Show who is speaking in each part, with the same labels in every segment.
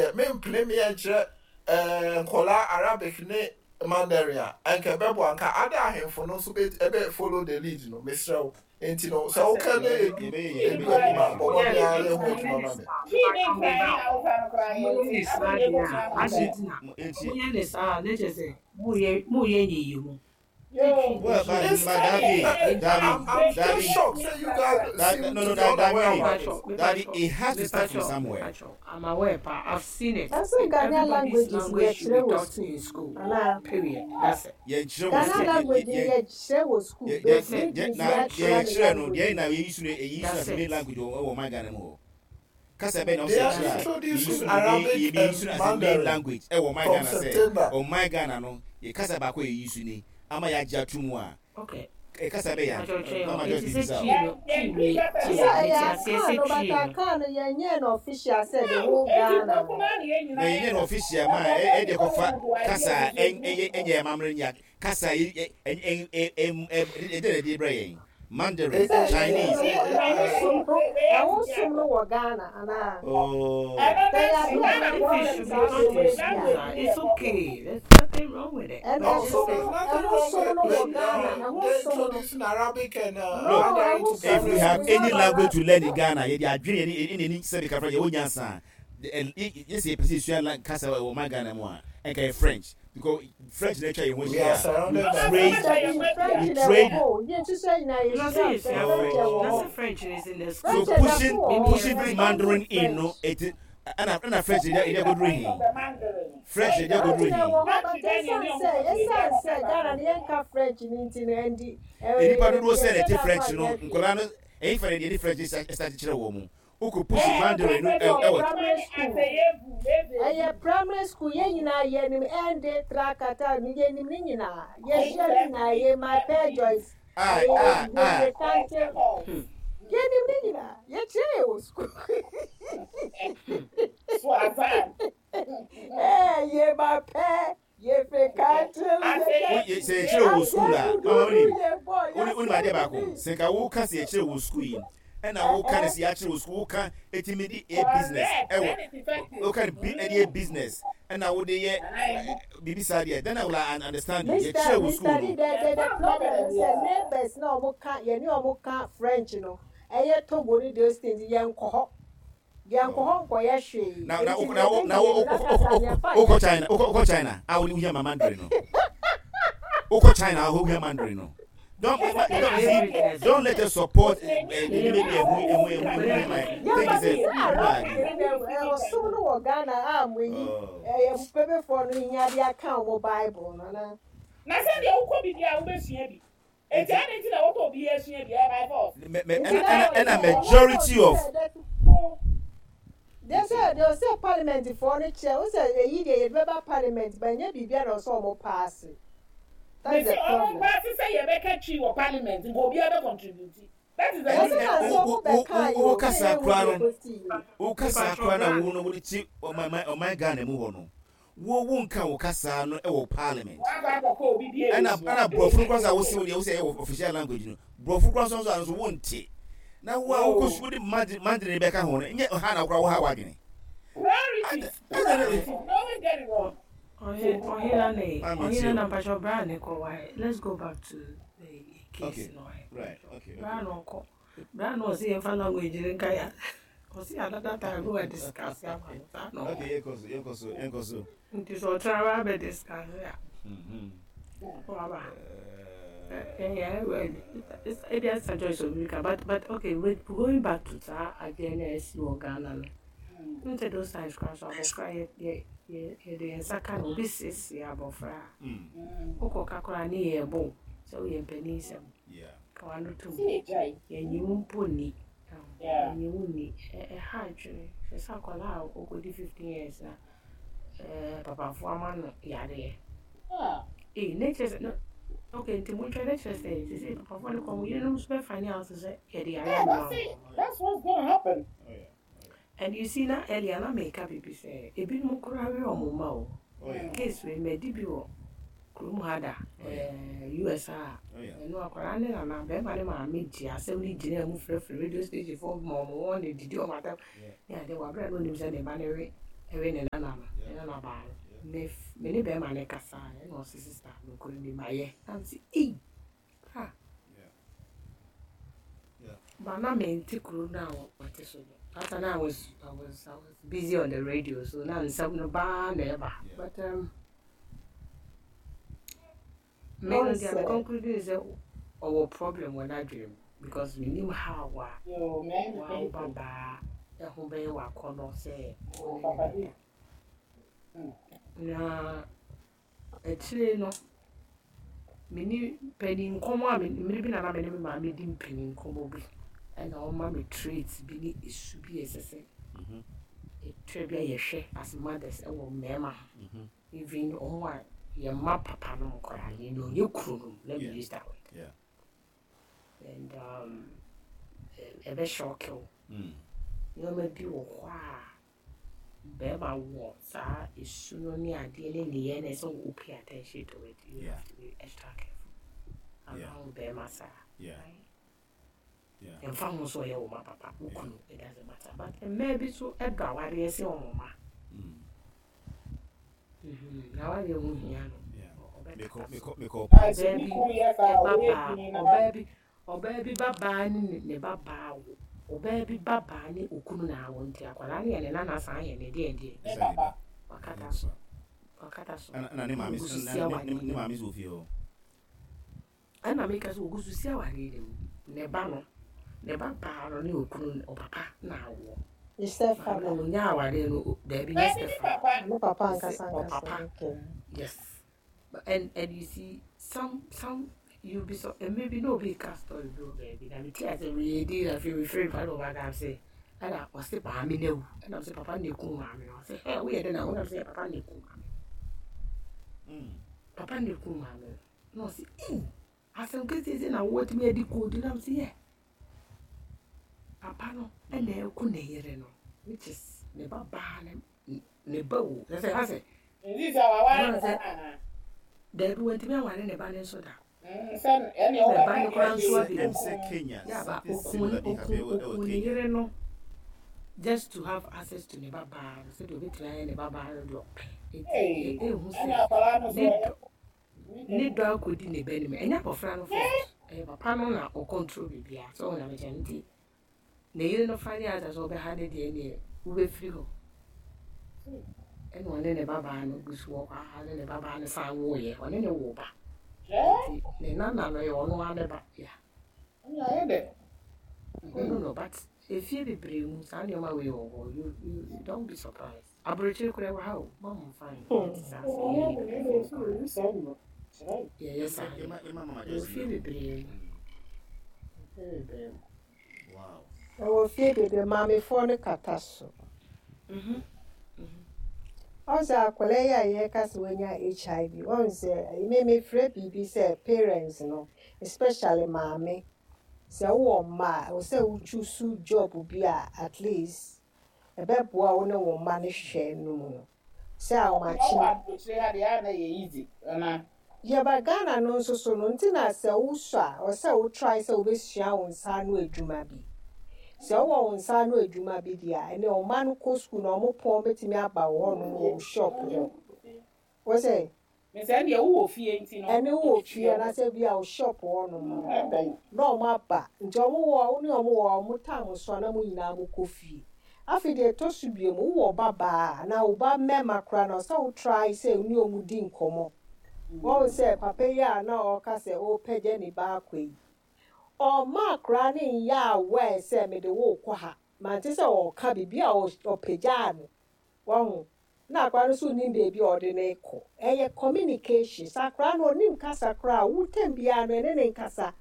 Speaker 1: Deɛ mempene meɛ nkyerɛ nkɔlaa Arabic ne Mandarin a, anka ɛbɛboa. Anka ada ahemfo no nso bɛ ɛbɛ follow the lead no. Mesrɛ wo. Enti no, sɛ woka na edu edu anim a, bɔ mmɔden ara yɛ ho adwuma ma me.
Speaker 2: Moyɛ ne saa deɛ a, adɛn nti na moyɛ ne saa a, na kyerɛ sɛ moyɛ nyiyimu.
Speaker 3: Well, but,
Speaker 1: It's
Speaker 3: but Daddy,
Speaker 1: I,
Speaker 3: Daddy,
Speaker 1: I'm I'm still
Speaker 3: Daddy,
Speaker 1: shocked. Say you guys
Speaker 3: Daddy,
Speaker 1: seem
Speaker 3: no,
Speaker 1: to
Speaker 3: no,
Speaker 1: be unaware
Speaker 3: Daddy,
Speaker 1: about this.
Speaker 3: Daddy, it has to start from somewhere.
Speaker 2: Mepacho, I'm aware, pa. I've seen it.
Speaker 4: Ɛsɛ Ghanaian
Speaker 2: Everybody's
Speaker 4: languages
Speaker 2: language should
Speaker 4: yɛkyerɛ
Speaker 2: be
Speaker 4: wɔ
Speaker 2: taught
Speaker 4: school
Speaker 2: in school.
Speaker 4: anaa?
Speaker 2: Period. That's it.
Speaker 3: Yɛnkyerɛ wɔ
Speaker 4: Ghana
Speaker 3: school, yɛ
Speaker 4: language no
Speaker 3: yɛ
Speaker 4: yɛkyerɛ wɔ school
Speaker 3: yɛ
Speaker 4: but
Speaker 2: That's
Speaker 3: yɛ
Speaker 2: it.
Speaker 3: yɛ
Speaker 4: mentumi
Speaker 3: na
Speaker 4: yɛakyerɛ
Speaker 3: yɛ
Speaker 4: me
Speaker 3: yɛkyerɛ no deɛ
Speaker 4: language.
Speaker 3: na yɛyi so no yɛyi so
Speaker 2: That's
Speaker 3: as a main
Speaker 2: it.
Speaker 3: language wɔ wɔ ɔman Ghana mu hɔ. Kasa bɛn na
Speaker 1: They
Speaker 3: ɔsɛ
Speaker 1: are
Speaker 3: kyerɛ a yɛyi
Speaker 1: introducing
Speaker 3: so no main
Speaker 1: Arabic
Speaker 3: yɛyi so
Speaker 1: and
Speaker 3: no as a main
Speaker 1: Mandarin
Speaker 3: language ɛwɔ ɔman
Speaker 1: from
Speaker 3: Ghana sɛ
Speaker 1: September.
Speaker 3: ɔman Ghana no yɛ kasa baako a yɛyi so ni ama yɛagye ato mu a
Speaker 2: Okay.
Speaker 3: kasa bɛyɛ
Speaker 2: Mepacho
Speaker 3: a
Speaker 2: twɛn o.
Speaker 3: Mama Joyce
Speaker 2: Enti sɛ
Speaker 3: bisa
Speaker 2: Twi
Speaker 3: o.
Speaker 2: no, Twi wei,
Speaker 4: Sɛ
Speaker 2: tie,
Speaker 4: ɛyɛ
Speaker 2: mete aseɛ
Speaker 4: Akan
Speaker 2: sɛ
Speaker 4: no but
Speaker 2: Twi no.
Speaker 4: Akan no yɛnyɛɛ no official sɛ the whole Ghana no.
Speaker 3: Na yɛnyɛ no official ma ɛde kɔfa kasa a ɛnyɛ ɛnyɛ amammerɛ nya kasa a ɛ ɛ ɛ ɛ ɛde na ɛde brɛ yɛn Mandarin,
Speaker 4: Sɛ
Speaker 3: Chinese.
Speaker 4: ɛho som no ɛho som no wɔ Ghana anaa?
Speaker 3: Oh.
Speaker 4: Sɛ yɛ ade a
Speaker 2: If
Speaker 4: yɛwɔ
Speaker 2: it
Speaker 4: problem
Speaker 2: should be
Speaker 4: saa
Speaker 2: taught
Speaker 4: deɛ
Speaker 2: in
Speaker 4: wei
Speaker 2: schools,
Speaker 4: deɛ
Speaker 2: ah, it's okay. There's nothing wrong with it.
Speaker 4: ɛno
Speaker 1: No,
Speaker 4: ɛho
Speaker 1: so there's
Speaker 4: som
Speaker 1: nothing
Speaker 4: ɛho
Speaker 1: wrong
Speaker 4: som
Speaker 1: with
Speaker 4: no wɔ
Speaker 1: with
Speaker 4: Ghana ɛho
Speaker 1: they
Speaker 4: som no
Speaker 1: introducing Arabic and
Speaker 4: no
Speaker 3: Look,
Speaker 1: Mandarin
Speaker 4: ɛho
Speaker 1: to
Speaker 4: som
Speaker 3: if
Speaker 1: primary
Speaker 3: we
Speaker 4: no
Speaker 3: have
Speaker 4: we
Speaker 1: schools.
Speaker 3: any
Speaker 4: have
Speaker 3: language
Speaker 4: Arab
Speaker 3: to learn in Ghana, yɛde adwene yɛne ɛne ɛni sɛbi kafra yɛwɔ nyansa a, yɛsɛ yɛpɛ sɛ yɛsua kasa wɔ ɔman Ghana mu a, ɛnka yɛ French because French na atwa yɛn ho
Speaker 1: We
Speaker 3: ahyia
Speaker 1: are
Speaker 3: a, we
Speaker 1: surrounded by
Speaker 3: trade
Speaker 1: French
Speaker 4: Dabi
Speaker 1: people.
Speaker 4: French
Speaker 3: we
Speaker 4: na ɛwɔ
Speaker 3: trade
Speaker 4: hɔ o yɛn nso nyinaa
Speaker 2: Na sɛ
Speaker 4: yɛsua
Speaker 2: yɛsua
Speaker 4: French
Speaker 2: French.
Speaker 4: ɛwɔ
Speaker 2: Na
Speaker 4: hɔ
Speaker 2: sɛ French is in the
Speaker 3: So
Speaker 2: school.
Speaker 4: French ɛda so
Speaker 3: pushing
Speaker 4: wɔ
Speaker 2: Mimi
Speaker 4: hɔ
Speaker 2: yɛ
Speaker 3: pushing this
Speaker 2: French.
Speaker 3: Mandarin
Speaker 4: yɛnhu
Speaker 3: in no
Speaker 4: French.
Speaker 3: it ɛna French ɛde ɛde agoduru hin French ɛde
Speaker 4: French
Speaker 3: agoduru
Speaker 4: na
Speaker 3: hin
Speaker 4: ɛwɔ hɔ but ɛsiane sɛ ɛsiane sɛ Ghana no yɛnka French no nti no ɛndi
Speaker 3: Nipa dodoɔ sɛ na
Speaker 4: yɛnhyɛ
Speaker 3: ɛte
Speaker 4: da
Speaker 3: French
Speaker 4: mfa
Speaker 3: no
Speaker 4: nyɛ hwee.
Speaker 3: nkwadaa no ɛyin fa na yɛde French ɛsa kyerɛ wɔn mu wokɔ push Mandarin no
Speaker 4: Ɛyɛ
Speaker 3: ɛwɔ
Speaker 4: primary school ɛyɛ primary school yɛn nyinaa yɛnim ɛnde trakata no yɛnim ne nyinaa yɛhyia ne nyinaa yɛ my pair Joyce
Speaker 3: a a a
Speaker 4: yɛ kante yɛnim ne nyinaa yɛkyerɛ yɛ wɔ school ɛɛ yɛ my pair yɛfɛ kante
Speaker 3: sɛ yɛkyerɛ wɔ school a mama wonim wonim adeɛ baako sɛ nka woka sɛ yɛkyerɛ wɔ school yi ɛna woka ne sɛ yɛakyerɛ wɔ school, woka ɛtumi de yɛ business ɛwɔ woka ne bi ɛde yɛ business ɛna wode yɛ biribi saa deɛ, then I will understand you.
Speaker 4: Mr.
Speaker 3: Yɛkyerɛ wɔ
Speaker 4: Mr.
Speaker 3: school
Speaker 4: D,
Speaker 3: no.
Speaker 4: the problem is sɛ neighbors na ɔmo ka yɛne ɔmo ka French no ɛyɛ Togo ne those things, yɛnkɔ hɔ yɛnkɔ hɔ nkɔyɛ hwee
Speaker 3: Na na
Speaker 4: nti
Speaker 3: na
Speaker 4: na
Speaker 3: na
Speaker 4: yɛbɛhia no na kasa yɛmfa
Speaker 3: wokɔ
Speaker 4: nyɛ
Speaker 3: China
Speaker 4: hwee.
Speaker 3: Wokɔ China a wode wohia ma Mandarin no, wokɔ China a wohia Mandarin no, don't you
Speaker 2: Ɛyɛ
Speaker 3: see,
Speaker 2: business.
Speaker 3: don't let us support the nneɛma bi a ɛho ɛho ɛho ɛho nneɛma
Speaker 4: Yeah,
Speaker 3: think
Speaker 4: but
Speaker 3: sɛ
Speaker 4: sɛ
Speaker 3: biribi
Speaker 4: Arabic
Speaker 3: ade
Speaker 4: ne dɛ ɔsom no wɔ Ghana a mo yi
Speaker 3: oh.
Speaker 4: ɛyɛ mpɛpɛfoɔ no hia de aka ɔmo Bible no ana?
Speaker 5: Na sɛdeɛ wokɔ bi deɛ a wobɛsua bi. Enti
Speaker 3: Nti
Speaker 5: adɛn nti na wɔkɔ obi asua bi? Ɛyɛ by force.
Speaker 3: me me
Speaker 4: Nti
Speaker 3: ɛna
Speaker 4: na
Speaker 3: ɛna ɛna
Speaker 4: sɛ ɔmo
Speaker 3: majority
Speaker 4: kɔ
Speaker 3: of
Speaker 4: sɛ dɛ deɛ sɛ deɛ ɔsɛ parliament foɔ no kyerɛ wo sɛ eyi deɛ yɛde bɛba parliament ba nyɛ biribi a na ɔsɛ ɔmo pass. That's
Speaker 5: Mese
Speaker 4: the
Speaker 5: ɔmo
Speaker 4: problem.
Speaker 5: pass sɛ yɛbɛka Twi wɔ parliament nka obiara bɛ contribute. That is the
Speaker 4: Ɛsɛ
Speaker 5: reason.
Speaker 4: na sɛ
Speaker 3: wo
Speaker 4: ɔmo
Speaker 3: wo
Speaker 4: bɛka yi
Speaker 3: wo
Speaker 4: o sɛ
Speaker 3: kasa
Speaker 4: yɛn hu
Speaker 3: kora
Speaker 4: deɛ
Speaker 3: no
Speaker 4: ekosi yi.
Speaker 3: wo kasa
Speaker 2: Mepacho
Speaker 3: kora na
Speaker 2: bra.
Speaker 3: wo no wode te ɔman ɔman Ghana mu hɔ no wo nka wo kasa no ɛwɔ parliament.
Speaker 5: Wakɔ akɔkɔ obi bi
Speaker 3: Ɛna
Speaker 5: ebesua.
Speaker 3: ɛna borɔfo no kora sɛ wose wo deɛ wosɛ ɛyɛ official language no, borɔfo kora nso nso a nso wonte na wo a wokɔ sukuu de Mandarin bɛka ho no nyɛ ha na wokora wo ha w'adwene.
Speaker 5: Priorities. Priorities. We always get it wrong.
Speaker 2: Ɔhena ne
Speaker 3: Maame
Speaker 2: ɔhena
Speaker 3: tie
Speaker 2: na
Speaker 3: o.
Speaker 2: mpacho bra ne kɔ why. Let's go back to the case
Speaker 3: Okay
Speaker 2: no.
Speaker 3: Right, okay.
Speaker 2: Bra
Speaker 3: Okay.
Speaker 2: no ɔkɔ. Bra no ɔsi yɛmfa language ne nka ya. Ɔsi another time go and discuss ama no saa na ɔkɔ.
Speaker 3: Okay, yɛnkɔ so, yɛnkɔ so, yɛnkɔ so.
Speaker 2: Nti sɛ ɔtena ba abɛ discuss a waba. Yeah, well, ebi asa Joyce obi ka but okay, wait, going back to saa adeɛ na ɛsi wɔ Ghana no. N sɛ those times kora so abɔfra yɛ yɛ yɛ yɛde yɛn nsa ka no obi siesie abɔfra a wokɔ ka koraa ne yɛ ɛbɔ sɛ woyɛ mpanin sɛm ka wano tom yɛnyi wo mpo nni yɛnyi wo nni. Ɛha adwene hwɛ sɛ akwadaa a ɔkɔdi 15 years na papafoɔ ama no yareɛ ee ne kyerɛ sɛ no okay nti monhwɛ ne kyerɛ sɛ sisi papafoɔ no kɔ mo yerenom nso bɛfa ne out sɛ yɛde yareɛ
Speaker 5: Yeah,
Speaker 2: ama
Speaker 5: that's
Speaker 2: wɔn.
Speaker 5: it. That's what's gonna happen.
Speaker 3: Oh yeah.
Speaker 2: And you see na earlier na meka biribi sɛ ebinom koraa we ɔmo mma o. Case wei madi bi wɔ kurom ha da US a ɛno akwadaa ne nana bɛrima ne maame gye asɛm no gyina mu frɛfrɛ radio station foɔ ma ɔmo wɔn ne didi ɔmo atam ne ade wɔ abere a na onim sɛ ne ba ne we. ɛwe ne nana no, ne nana baa no. Me me ne bɛrima no kasa ɛna ɔse sister nokorɛ ni mayɛ. Na me se ei ah. But na mente kuro no a wɔte so no. That time I was busy on the radio, so na nsɛm no baa na ɛba. But me no deɛ me conclude ne sɛ ɔwɔ problem wɔ n'adwene mu because menim how a wa wo babaa ɛho bɛyɛ w'akɔnnɔ sɛ wo ne no bɛda. Na akyire no, me ne panin nkɔmmɔ a mmere bi na na me ne me maame di mpanin nkɔmmɔ bi ɛna ɔma me traits bi ne esu bi a ɛsɛ sɛ ɛtwa bi a yɛhwɛ as mothers ɛwɔ mmarima ho. Even ɔmo a yɛn mma papa nom koraa, yɛn deɛ ɔnyɛ kuro nom, let me use that word. And ɛbɛ shock wo. Nneɛma bi wɔ hɔ a bɛrima wɔ saa esu no ne adeɛ ne nneyɛɛ no ɛsɛ wo pay attention to it. You have to be extra careful around bɛrima saa. Right? Ɛmfa ho sɛ ɔyɛ wo ma papa, wo kunu, it doesn't matter. But mmaa bi so ɛdɔ awareɛ sɛ wɔn mma. Na awareɛ ho hia no. Ɔbɛkata so. Ɔbaa bi ɛba baa, ɔbaa bi ba baa ne ne ba baa wo. Ɔbaa bi ba baa ne okunu na awo nti akwadaa no yɛ ne nana san yɛ ne deɛ deɛ. Wakata so. Wakata so.
Speaker 3: Ɛna ne maame
Speaker 2: Ogu so si awareɛ
Speaker 3: ne maame so wɔ fie hɔ.
Speaker 2: Ɛna meka sɛ ogu so si awareɛ no mu. Ne ba no, ne ba baa no ne okunu ɔpapa na awoɔ.
Speaker 4: Ne stepfather.
Speaker 2: Maame no onya awareɛ no daabi nyɛ stepfather.
Speaker 4: Ne papa ankasa ankasa.
Speaker 2: Ɔpapa. Yes. But and you see some you be so and maybe no be ka story bi wɔ baabi na me ti ase we di na fi we free pa no ba ka sɛ ɛna ɔse maame na wu ɛna ɔse papa na eku maame no ɔse ɛ woyɛ dɛ na wo na ɔse papa na eku maame papa na eku maame no na ɔse ee asɛm kɛseɛ na wɔtumi adi koodi na ɔse yɛ papa no ɛna ɛku ne yere no, which is ne ba baa ne ne ba wo sɛ sɛ asɛ
Speaker 5: Nti sɛ waware ne ba no anaa?
Speaker 2: Daabi, wantumi aware ne ba no nso da.
Speaker 5: Sɛ ɛne
Speaker 2: Ne ba no koraa nso abɛwu.
Speaker 3: Ɛm sɛ Kenya,
Speaker 2: Yaba
Speaker 3: something
Speaker 2: okun
Speaker 3: similar bi
Speaker 2: okun
Speaker 3: happen ɛwɔ
Speaker 2: okun ne
Speaker 3: Kenya.
Speaker 2: yere no just to have access to ne ba baa no sɛdeɛ obetumi ayɛ ne ba baa no deɛ ɔpɛ. Eti ehu sɛ
Speaker 5: Ɛna akwadaa no so
Speaker 2: ne
Speaker 5: ɔyɛ
Speaker 2: dɔ ne dɔ akɔdi ne ba nim. Ɛnyɛ abɔfra no fault. Ɛyɛ papa no na ɔcontrol biribiara. So ɔmo na mekyerɛ no nti ne yere no fa ne asa sɛ ɔbɛha ne deɛ neɛ wobɛfiri hɔ. Ɛna ɔne ne babaa no gu so wɔ hɔ a ne ne babaa no san woeɛ. Ɔne ne wo ba. Nti ne nana no yɛ ɔno ara ne ba. Yeah.
Speaker 5: Ɛna ayɛ dɛ.
Speaker 2: Oh no, but efie bebree mu saa nneɛma wei wɔ hɔ. You don't be surprised. Aburokyire koraa wɔ ha o. Mo mo nfa nyɛ te saa sɛ yɛyɛ ne yɛyɛ saa
Speaker 3: Ɛma mama
Speaker 2: wɔ
Speaker 3: Joyce
Speaker 2: fie
Speaker 3: no.
Speaker 2: bebree mu. Fie bebree mu.
Speaker 4: Ɛwɔ fie bebree, maamefoɔ no kata so. Ɔsɛ akwadaa yi a yɛka sɛ wanya HIV, ɔn sɛ memefrɛ biribi sɛ parents no, especially maame, sɛ wowɔ mma a, ɛwɔ sɛ wotwi job bi a at least ɛbɛboa wo ne wo mma no hwɛ no mu no. Sɛ
Speaker 5: Ɔwɔ
Speaker 4: ahomakye
Speaker 5: aburokyire ha deɛ a na yɛ easy ana?
Speaker 4: Yɛba Ghana no nso so no, nti na sɛ wosɔ a, ɔsɛ sɛ wo try sɛ wobɛsua wo nsa ano adwuma bi. Sɛ wowɔ wo nsa ano adwuma bi deɛ a, ɛnɛ wo mma no kɔ school na ɔmo pɔn bɛtumi aba wo hɔnom wɔ wo shop hɔ. Wɔ sɛ
Speaker 5: Mesɛ deɛ wowɔ fie nti no.
Speaker 4: Ɛne wowɔ fie anaasɛ bi a wo shop hɔnom no
Speaker 5: Ɛbɛn.
Speaker 4: na ɔmo aba nti ɔmo wɔ wo ne ɔmo wɔ ɔmo time so a na mo nyinaa mo kɔ fie. Afei deɛ ɛtɔ so bio mu, wowɔ ba baa anaa wo ba mmarima koraa na ɔsɛ wo try sɛ wo ne ɔmo di nkɔmmɔ. Wɔn sɛ papa yi a na ɔka sɛ ɔrepɛgya ne ba akɔ yi, ɔma akwaraa ne nyɛ aware sɛ mede wo kɔ ha. Mante sɛ ɔka biribi a ɔpagyaa no. Wɔho na akwaraa no nso nim baabi a ɔde ne kɔ. Ɛyɛ communication. Sɛ akwaraa no onim kasa koraa a, wo time biara no ɛne ne nkasa.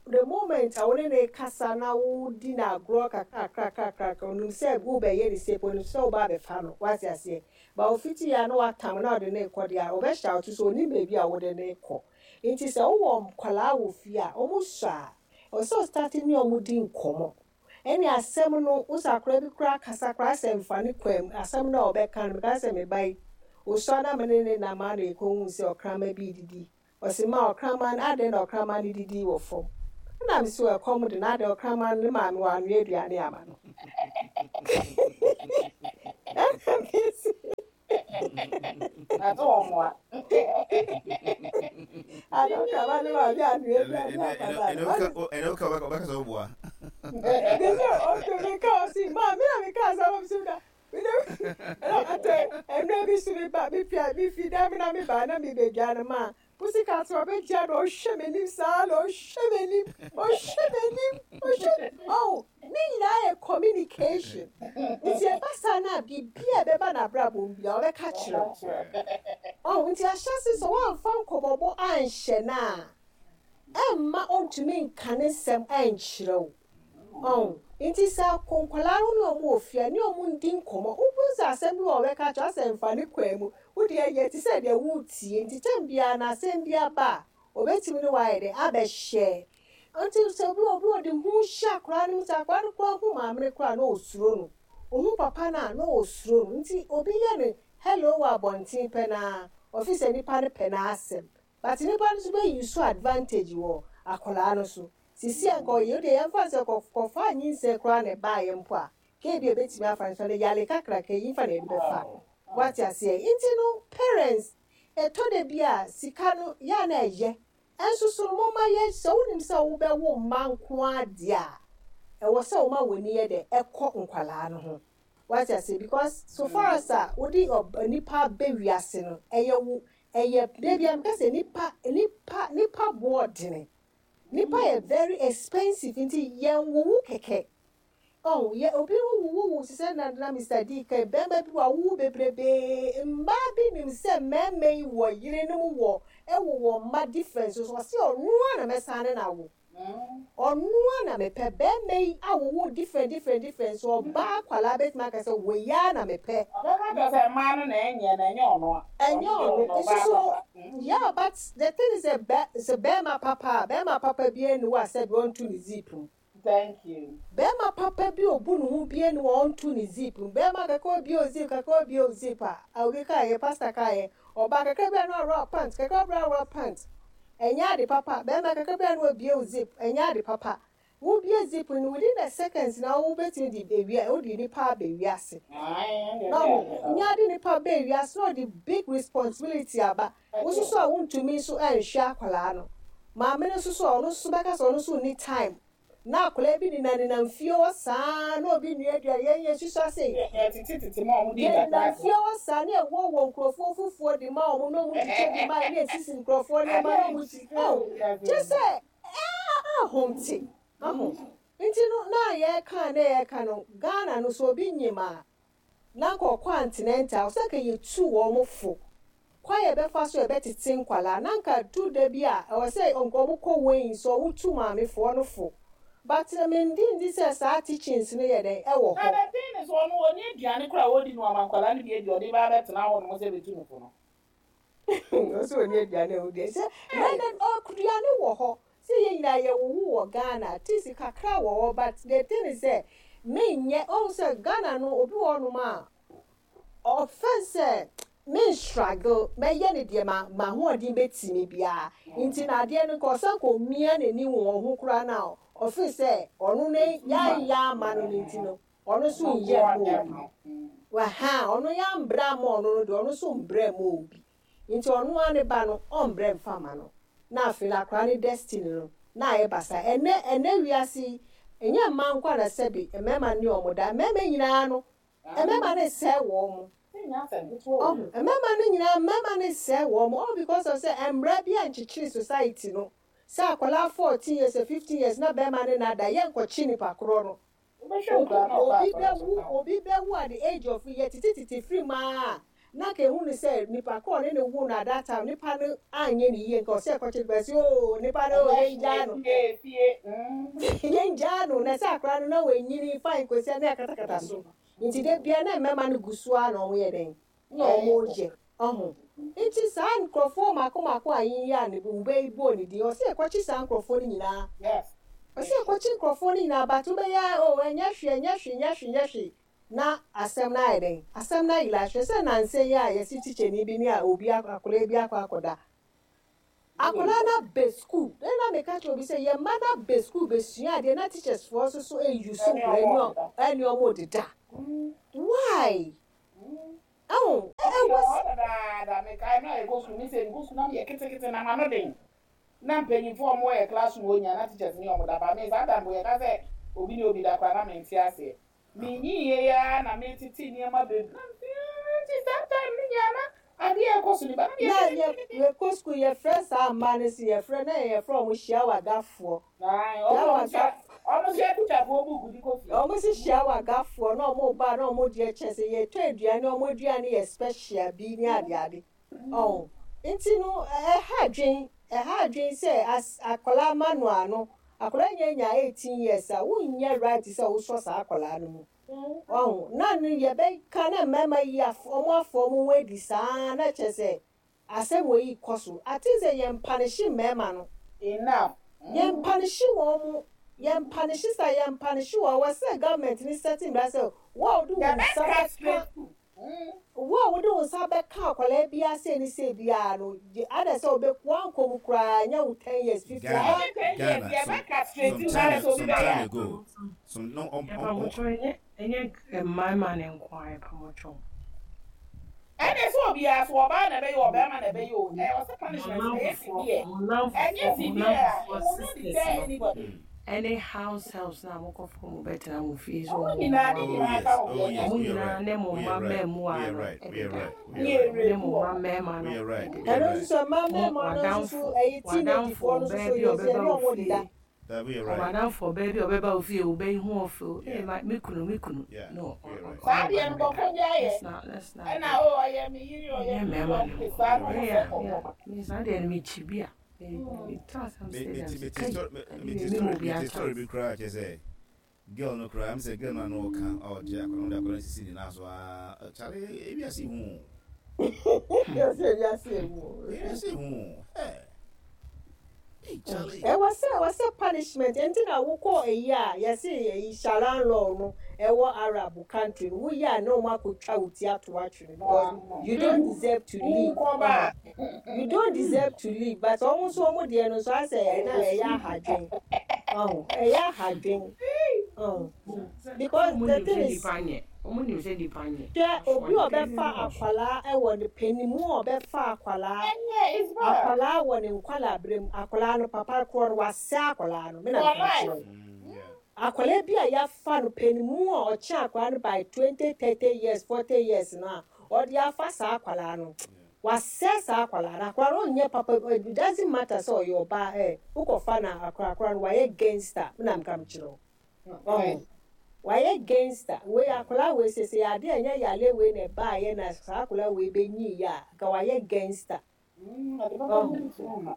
Speaker 4: The moment a wo ne ne kasa na wodi no agorɔ kakra kakra kakra, onim sɛ wobɛyɛ ne se, onim sɛ woba abɛfa no, wate aseɛ. Ba ofiti ya na watam na ɔde ne kɔ deɛ a, ɔbɛhyɛ ato so onim baabi a wode ne kɔ. Nti sɛ wowɔ nkwadaa wɔ fie a, ɔmo sɔ a, ɛwɔ sɛ ɔstart ne ɔmo di nkɔmmɔ. Ɛne asɛm no, wo sɛ akwadaa bi koraa kasa koraa sɛ mfa ne kwan mu, asɛm no a ɔbɛka no, meka sɛ me ba yi, osua na me ne ne nam a na yɛkɔhuu sɛ ɔkraman bi didi. Ɔse ma ɔkraman no, adɛn na ɔkraman no didi wɔ fam? Ɛna me sɛ ɛkɔm de na adɛn ɔkraman no ne maame wanoa aduane ama no.
Speaker 5: Na to wɔn mmoa.
Speaker 4: Adɔka ba ne maame anoa aduane akwadaa no.
Speaker 3: Ɛnɛ woka wobɛka sɛ woboa.
Speaker 4: Ne sɛ ɔtɔ mi ka ɔsi maa mi na mi ka asɛm ɔmo si da. Ɛna ɔtɛ ɛnura bi so mi ba mi pia mi fi dan mi na mi ba na mi bɛ dwa no maa Pussycat ɔbɛgyina na ɔhwɛ m'anim saa na ɔhwɛ m'anim ɔhwɛ m'anim ɔhwɛ oh ne nyinaa yɛ communication nti ɛba saa no a biribi a ɛbɛba n'abrabɔ mu biara ɔbɛka kyerɛ wo oh nti ahyɛse sɛ woamfa nkɔmmɔbɔ anhyɛ no a ɛmma ɔntumi nka ne nsɛm ɛnkyerɛ wo oh nti sɛ nkwadaa no ne wɔn wɔ fie a ne wɔn ndi nkɔmmɔ wohu sɛ asɛm bi wɔ ɔbɛka kyerɛ wo asɛ mfa ne kwan mu Wo deɛ yɛ te sɛ deɛ woretie nti tɛm biara no asɛm bi aba a ɔbɛtumi ne wo ayɛ dɛn abɛhyɛ. Nti sɛ obi obi ɔde hu hyɛ akwadaa no mu sɛ akwadaa no koraa hu maame no koraa na ɔsuro no, ɔhu papa no a na ɔsuro no nti obi yɛ no hello wɔ abɔnten pɛ no ara ɔfeel sɛ nipa no pɛ n'asɛm but nipa no nso bɛ use advantage wɔ akwadaa no so. Sisi a nka ɔyɛ wo deɛ yɛmfa no sɛ kɔ kɔfaa nyinsɛn koraa na ɛbaeɛ mpo a Kɛ ebia ebetumi afa nso no yale kakraka yi nfa na yɛde bɛfa. Wate aseɛ? Nti no parents ɛtɔ da bi a sika no yɛ a na ɛyɛ nso so no momma yɛ sɛ wonim sɛ wobɛwo mma nko ara deɛ a ɛwɔ sɛ woma w'ani yɛ dɛ ɛkɔ nkwadaa no ho. Wate aseɛ? Because so far as a wode nipa ba wiase no ɛyɛ wo ɛyɛ da bi a meka sɛ nipa nipa nipa boɔ dene. Nipa yɛ very expensive nti yɛnwowo kɛkɛ. Oh yɛ obi ho wuwuwu te sɛ na na Mister D ka yi, bɛɛma bi wawowo bebrebee, mmaa bi nim sɛ mɛɛma yi wɔ yerenom wɔ ɛwowɔ mma different so ɔse ɔnoa na mɛsan ne no awo, ɔnoa na mepɛ, bɛɛma yi awowo different different different so ɔbaa akwadaa bɛtumi aka sɛ wei ara na mepɛ.
Speaker 5: Ɔbɛka kyerɛ sɛ mmaa no na ɛnyɛ na ɛnyɛ ɔno a,
Speaker 4: Ɛnyɛ
Speaker 5: ɔno
Speaker 4: ɔno,
Speaker 5: deɛ ɔyɛ
Speaker 4: nso
Speaker 5: ɔbaa
Speaker 4: so
Speaker 5: papa.
Speaker 4: yeah but the thing is sɛ bɛ sɛ bɛɛma papa a, bɛɛma papa biara nni hɔ a sɛbi ɔnto ne zip mu.
Speaker 5: Thank you.
Speaker 4: Bɛɛma papa bi obu ne ho bie ne wɔ ɔnto ne zip mu bɛɛma kakra obie o zip kakra obie o zip a obi kaa yɛ pastor kaa yɛ ɔbaa kakra bi a na ɔworɔ pant kakra bi a ɔworɔ pant ɛnyɛ ade papa bɛɛma kakra bi a na obie o zip ɛnyɛ ade papa wo bie zip no within the seconds na wo bɛtumi de ewia wo de nipa abɛ wiase na ɔmo nya de nipa bɛ wiase na ɔde big responsibility aba wo nso so a wontumi nso ɛnhwɛ akwadaa no maame no nso so a ɔno nso bɛka sɛ ɔno nso nni time na akwadaa bi nenanenam fie hɔ saa na obi nua aduane yɛn yɛn susua sei yɛnenam fie hɔ saa na ɛwɔ wɔ nkurɔfoɔ fufuo de ma wɔn na wɔn twitwa bi ma na esisi nkurɔfoɔ nneɛma na wɔn ti oh kyɛ sɛ ɛɛ ahomte aho nti no na yɛka na yɛka no Ghana no so obi nyim a na anka ɔkɔ antenɛntal sɛ anka yɛtu wɔn fo kwan a yɛbɛfa so a yɛbɛtete nkwadaa na anka du da bi a ɛwɔ sɛ anka wɔn kɔ weighing so wotu maamefoɔ no fo but mengye ndi sɛ saa teachings no yɛ dɛn ɛwɔ
Speaker 5: Na
Speaker 4: hɔ.
Speaker 5: the thing is ɔno ɔnni aduane koraa a ɔdi no ama nkwadaa no bi adi ɔde ba abɛtena hɔ nom sɛ bɛtu no fo no.
Speaker 4: Ɔsɛ ɔnni aduane a ɔdi sɛ na na aduane wɔ hɔ sɛ yɛn nyinaa yɛwowo wɔ Ghana at least kakra wɔ hɔ but the thing is sɛ menyɛ ɔhu sɛ Ghana no obi wɔ hɔnom a ɔfɛn sɛ me struggle mɛyɛ ne deɛ ma m'ahoɔden bɛtumi biara nti na adeɛ no nka ɔsan kɔ mia n'ani wɔ wɔn ho koraa na ɔfeel sɛ ɔno ne yɛanyɛ ama no no nti no ɔno nso nyɛ ma obi waha ɔno yɛambrɛ ama ɔno no deɛ ɔno nso mbrɛ ma obi nti ɔno ara ne ba no ɔmbrɛ mfa ma no na afei no akwadaa ne destiny no na ayɛ basa ɛnɛ ɛnɛ wiase yi ɛnyɛ mmaa nko na sɛbi mmarima ne ɔmo da mmarima nyinaa no mmarima ne sɛɛ wɔn mo ɔho mmarima no nyinaa mmarima ne sɛɛ wɔn mo all because of sɛ mmara bi a nkyekyere society no sɛ akwadaa 14 years 15 years na bɛrima ne nada yɛ nkɔkye nipa korɔ no obi bɛwu obi bɛwu at the age of yɛ tete tete firi mu aa na ka ehu ne sɛ nipa korɔ ne ne wu no at that time nipa no anyɛ ne yie nka ɔsɛ ɛkɔkye nipa sɛ ooo nipa no yɛn gyaa no yɛn gyaa no na sɛ akwadaa no na wɔnyini fine kɔsi na yɛkatakata so nti de bia na mmarima no gu so a na wɔn yɛ dɛn na wɔn yɛ ɔho nti saa nkurɔfoɔ mako mako a yiyi a ne wobɛ yi bɔ ne din ɔsɛ ɛkɔkye saa nkurɔfoɔ no nyinaa ɔsɛ ɛkɔkye nkurɔfoɔ no nyinaa but wobɛyɛ o ɛnyɛ hwee ɛnyɛ hwee ɛnyɛ hwee ɛnyɛ hwee na asɛm no ayɛ dɛn asɛm no ayila hwɛ sɛ nansa yi a yɛsi tikyani bi ne a obi akwadaa bi akɔ akɔda akwadaa no abɛ school ɛna meka kyerɛ obi sɛ yɛn mma no abɛ school bɛsua adeɛ na teachers foɔ nso so eyi so nkwadaa ɛne ɔmo deda why. Ɛho,
Speaker 5: Ɛwɔ
Speaker 4: ɛwɔ
Speaker 5: hɔ dadaada, mekae mmerɛ a yɛkɔ sukuu, me sɛ mekɔ sukuu na meyɛ ketekete na m'ano den, na mpanyinfoɔ a wɔwɔ yɛ classroom hɔ nyinaa na teachers ne wɔn da, but me saa da mpo yɛka sɛ obi ne obi da koraa na mente aseɛ. Menyiniiɛ yi ara na metete nneɛma bebree na mese aah nti saa time no nyinaa na adeɛ a ɛrekɔ so ni, but na meyɛ
Speaker 4: Na yɛ
Speaker 5: ketekete.
Speaker 4: yɛkɔ sukuu yɛfrɛ saa mmaa no se yɛfrɛ na yɛfrɛ wɔn hyiawagafoɔ.
Speaker 5: Ae, wɔn na wɔn
Speaker 4: Hyiawaga
Speaker 5: sua, wɔn sua tikyafoɔ book de kɔ fie.
Speaker 4: Wɔn se hyiawagafoɔ na wɔn ba na wɔn deɛ kyɛ sɛ yɛtɔ aduane wɔn aduane yɛ special bi ne adeade. Ɔho nti no ɛha adwen ɛha adwen sɛ as akwadaa ma no ano akwadaa nya nya 18 years a wonyɛ right sɛ wosɔ saa akwadaa no mu. Ɔho na no yɛbɛka na mmarima yi af wɔn afa wɔn ho adi saa na kyerɛ sɛ asɛm wei rekɔ so. I think sɛ yɛn mpanehye mmarima no.
Speaker 5: Enough.
Speaker 4: Yɛn mpanehye wɔn mo. Yɛn mpanehye sa yɛn mpanehye wɔn. Ɛwɔ sɛ government no set mmara sɛ wo a wode wo
Speaker 5: Yɛbɛ
Speaker 4: nsa bɛka
Speaker 5: castrate wo.
Speaker 4: Wo a wode wo nsa bɛka akwadaa biara sei ne sei biara no, gye ada sɛ wobɛ woankɔ mu koraa ɛnyɛ wo ten years fifteen
Speaker 3: Ghana,
Speaker 4: aba.
Speaker 5: Ɛnyɛ ten years,
Speaker 3: Ghana,
Speaker 5: yɛbɛ
Speaker 3: some
Speaker 5: castrate
Speaker 3: some
Speaker 5: wo na ayɛ
Speaker 3: time
Speaker 5: sɛ obi
Speaker 3: some
Speaker 5: bɛyɛ
Speaker 3: time
Speaker 5: a.
Speaker 3: ago, some no
Speaker 2: Yɛpa mo kyɛw ɛnyɛ ɛnyɛ mmarima ne nko ara yɛpa mo kyɛw.
Speaker 5: Ɛne sɛ obiara so ɔbaa na ɛbɛyɛ ɔbɛrima na ɛbɛyɛ o, ɛwɔ sɛ
Speaker 2: Mo
Speaker 5: punishment no ɛyɛ
Speaker 2: nnamfofoɔ
Speaker 5: severe,
Speaker 2: mo
Speaker 5: ɛnyɛ
Speaker 2: nnamfofoɔ mo
Speaker 5: severe a it
Speaker 2: nnamfofoɔ
Speaker 5: will not
Speaker 2: sisters
Speaker 5: deter
Speaker 2: no
Speaker 5: anybody.
Speaker 2: ɛne house helps na mokɔfa mo bɛtena mo fie sɛ
Speaker 5: Ɔmo
Speaker 2: ɔmo
Speaker 5: nyinaa ne
Speaker 2: mmoa
Speaker 3: Oh
Speaker 2: mo.
Speaker 5: nyinaa
Speaker 3: yes,
Speaker 5: ka ho
Speaker 3: oh
Speaker 5: bi ɛnyɛ
Speaker 3: yes,
Speaker 2: Mo
Speaker 3: we are
Speaker 2: nyinaa
Speaker 3: right,
Speaker 2: ne mo
Speaker 3: we
Speaker 2: mma
Speaker 3: are right,
Speaker 2: mmaamua
Speaker 3: we are
Speaker 2: no
Speaker 3: right, we are
Speaker 2: ɛdeda.
Speaker 3: right, we
Speaker 5: Ne
Speaker 3: are right,
Speaker 2: Mo ne
Speaker 5: yɛ
Speaker 2: mo
Speaker 5: rape
Speaker 2: mma
Speaker 5: ɔmo.
Speaker 2: mmarima
Speaker 3: we
Speaker 2: no
Speaker 3: are right, we
Speaker 2: ɛdeda.
Speaker 3: are
Speaker 4: Ɛno
Speaker 3: right.
Speaker 4: nso so mmaa
Speaker 2: Mo
Speaker 4: mmarima no nso so
Speaker 2: w'adamfo
Speaker 4: ɛyɛ
Speaker 2: w'adamfo
Speaker 4: teenagefoɔ no nso
Speaker 2: ɔbaa
Speaker 4: so
Speaker 2: bi a
Speaker 4: yɛ nso
Speaker 2: ɔbɛba
Speaker 4: yɛne
Speaker 2: wo
Speaker 4: wɔn deda.
Speaker 2: fie
Speaker 3: That we are right.
Speaker 2: ɔmadamfo ɔbaa bi a ɔbɛba wo fie wobɛyi ho ɔfɛ
Speaker 3: Yeah,
Speaker 2: ee ma me kunu me kunu
Speaker 3: yeah,
Speaker 2: no
Speaker 3: we are right.
Speaker 5: Saa
Speaker 2: ɔne
Speaker 5: deɛ
Speaker 2: ɔba
Speaker 5: no
Speaker 2: no bɛda
Speaker 5: nkurɔfoɔ gyae yɛ
Speaker 2: let's not let's not
Speaker 5: ɛna
Speaker 2: do
Speaker 5: o ɔyɛ me yere ɔyɛ
Speaker 2: ɛnyɛ
Speaker 5: me yere
Speaker 2: mmarima
Speaker 5: ɔmo
Speaker 2: ne
Speaker 5: de
Speaker 2: nko
Speaker 5: saa na
Speaker 3: We
Speaker 5: ɔmo
Speaker 3: are right.
Speaker 5: sɛ
Speaker 2: yeah
Speaker 5: kɔkɔ
Speaker 2: yeah
Speaker 5: ma.
Speaker 2: me saa deɛ no mekyi bi a me me tra asɛm
Speaker 3: Me
Speaker 2: sɛ
Speaker 3: me
Speaker 2: dɛm
Speaker 3: ti
Speaker 2: sɛ
Speaker 3: me ti
Speaker 2: kai
Speaker 3: story me
Speaker 2: ade
Speaker 3: me
Speaker 2: wei
Speaker 3: ti
Speaker 2: me mu
Speaker 3: story
Speaker 2: obi
Speaker 3: me ti
Speaker 2: akyɛ
Speaker 3: story bi koraa kyerɛ sɛ girl no koraa m sɛ girl no ano ɔka ɔgye akwadaa no de akwadaa no sisi ne nan so aa kyale ebi ase hu
Speaker 4: Yɛsɛ wiase emu o.
Speaker 3: ebi ase hu ɛ ee kyale
Speaker 4: Ɛwɔ sɛ ɛwɔ sɛ punishment nti na wokɔ eyi a yɛse eyi Sharia law no ɛwɔ Arab country no woyɛ a na wɔn akotwa wo ti ato atwene because you don't deserve to live.
Speaker 5: Wokɔ ba
Speaker 4: Ɔho you don't deserve to live but wɔn nso wɔn deɛ no nso asɛ ɛna ɛyɛ ahadwen. Ɔho ɛyɛ ahadwen. Ɔho
Speaker 2: sɛ
Speaker 4: because
Speaker 2: ɔmo
Speaker 4: the
Speaker 2: nim
Speaker 4: thing
Speaker 2: sɛ
Speaker 4: is
Speaker 2: nipa nyɛ ɔmo nim sɛ nipa nyɛ
Speaker 4: hwɛ obi a
Speaker 2: afɔre kɛse
Speaker 4: ɔbɛfa
Speaker 2: ne wɔ so
Speaker 4: akwalaa ɛwɔ ne panimu a ɔbɛfa akwalaa
Speaker 5: ɛnyɛ it's bad
Speaker 4: akwalaa wɔ ne nkwalaa berɛ mu akwalaa no papa korɔ no wasɛ akwalaa no me na
Speaker 5: for
Speaker 4: meka kyerɛ
Speaker 5: life.
Speaker 4: wo
Speaker 3: yeah
Speaker 4: akwalaa bi a yɛafa no panimu a ɔkyɛ akwalaa no by 20 30 years 40 years no a ɔde afa saa akwalaa no
Speaker 3: yeah
Speaker 4: wasɛ saa akwalaa no akwalaa no ɔnyɛ papa it doesn't matter sɛ ɔyɛ ɔbaa ɛ wokɔfa no akwalaa akwalaa no wayɛ gangster me na meka kyerɛ wo ɔho wayɛ gangster wei akwadaa wei sese ade a ɛnyɛ yale wei na ɛbaayɛ na saa akwadaa wei bɛnyi yɛ a nka wayɛ gangster
Speaker 5: Ɔde papa
Speaker 4: ɔho
Speaker 5: bi nso ma.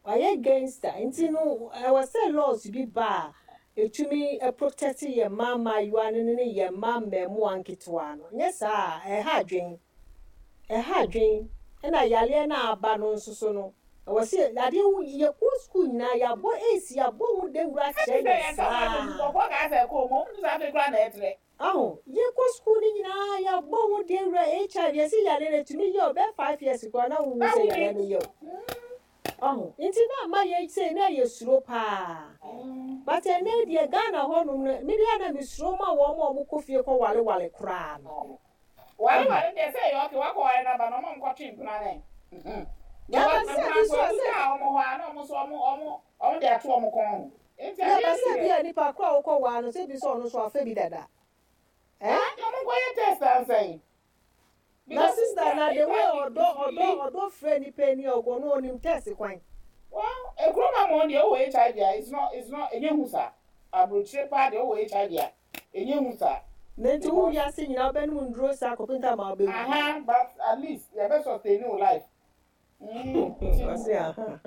Speaker 4: wayɛ gangster nti no ɛwɔ sɛ laws bi ba a etumi protect yɛn mmaa mmaayewa no ne yɛn mmaa mmaamua nketewa no nyɛ saa a ɛha adwen ɛha adwen ɛna yaleɛ no a aba no nso so no ɛwɔ sɛ adeɛ wo yɛkɔ sukuu nyinaa yɛabɔ AIDS yɛabɔ ho dawuro
Speaker 5: Ɛte
Speaker 4: akyerɛ
Speaker 5: sɛ
Speaker 4: yɛn
Speaker 5: yɛn kasa
Speaker 4: saa
Speaker 5: nkurɔfoɔ kaa sɛ ɛkɔɔ mu ɔmo nso afei koraa na ɛtrɛ.
Speaker 4: aho yɛkɔ sukuu no nyinaa yɛabɔ ho dawuro HIV yɛsɛ yale no etumi yɛ ɔbɛyɛ 5 years koraa na wohu
Speaker 5: Na
Speaker 4: sɛ
Speaker 5: woni
Speaker 4: yale no yɛ o ɔho nti na ama yɛ sɛ na yɛ suro paa but ɛnɛ deɛ Ghana hɔnom no me deɛ na mesuro ma wɔn a wɔkɔ fie kɔ walewale koraa no
Speaker 5: Wale
Speaker 4: ɔho
Speaker 5: wale deɛ sɛ ɛyɛ ɔke wakɔ ware n'aba na ɔmo nkɔtwe mpena ne.
Speaker 4: yaba
Speaker 5: Because
Speaker 4: sɛ
Speaker 5: mpena
Speaker 4: bi
Speaker 5: nso
Speaker 4: so a
Speaker 5: ebi
Speaker 4: sɛ
Speaker 5: kaa ɔmo hɔ a na ɔmo nso ɔmo de ato ɔmo kɔn ho. Nti adeɛ
Speaker 4: yaba
Speaker 5: no
Speaker 4: sɛ
Speaker 5: deɛ
Speaker 4: bi a nipa koro a wokɔ waa no sɛ bi sɛ ɔno nso afa bi dada ɛ
Speaker 5: ah ɔmo nkɔyɛ test ansɛn.
Speaker 4: Na
Speaker 5: Because
Speaker 4: sister na the way
Speaker 5: HIV
Speaker 4: ɔdɔ
Speaker 5: is
Speaker 4: ɔdɔ
Speaker 5: really
Speaker 4: ɔdɔ frɛ nipa ni ɔgɔ no onim test kwan.
Speaker 5: Well, ekuro ma mo deɛ ɔwɔ HIV a it's not enye hu saa. Aburokyire paa deɛ ɔwɔ HIV a enye hu saa.
Speaker 4: Na nti wo
Speaker 5: Because
Speaker 4: wiase nyinaa wobɛnom nduro saa kɔpem ta ma wobɛwu.
Speaker 5: Aha, but at least yɛbɛ sustain wo life. Nti
Speaker 4: Ɔse aha.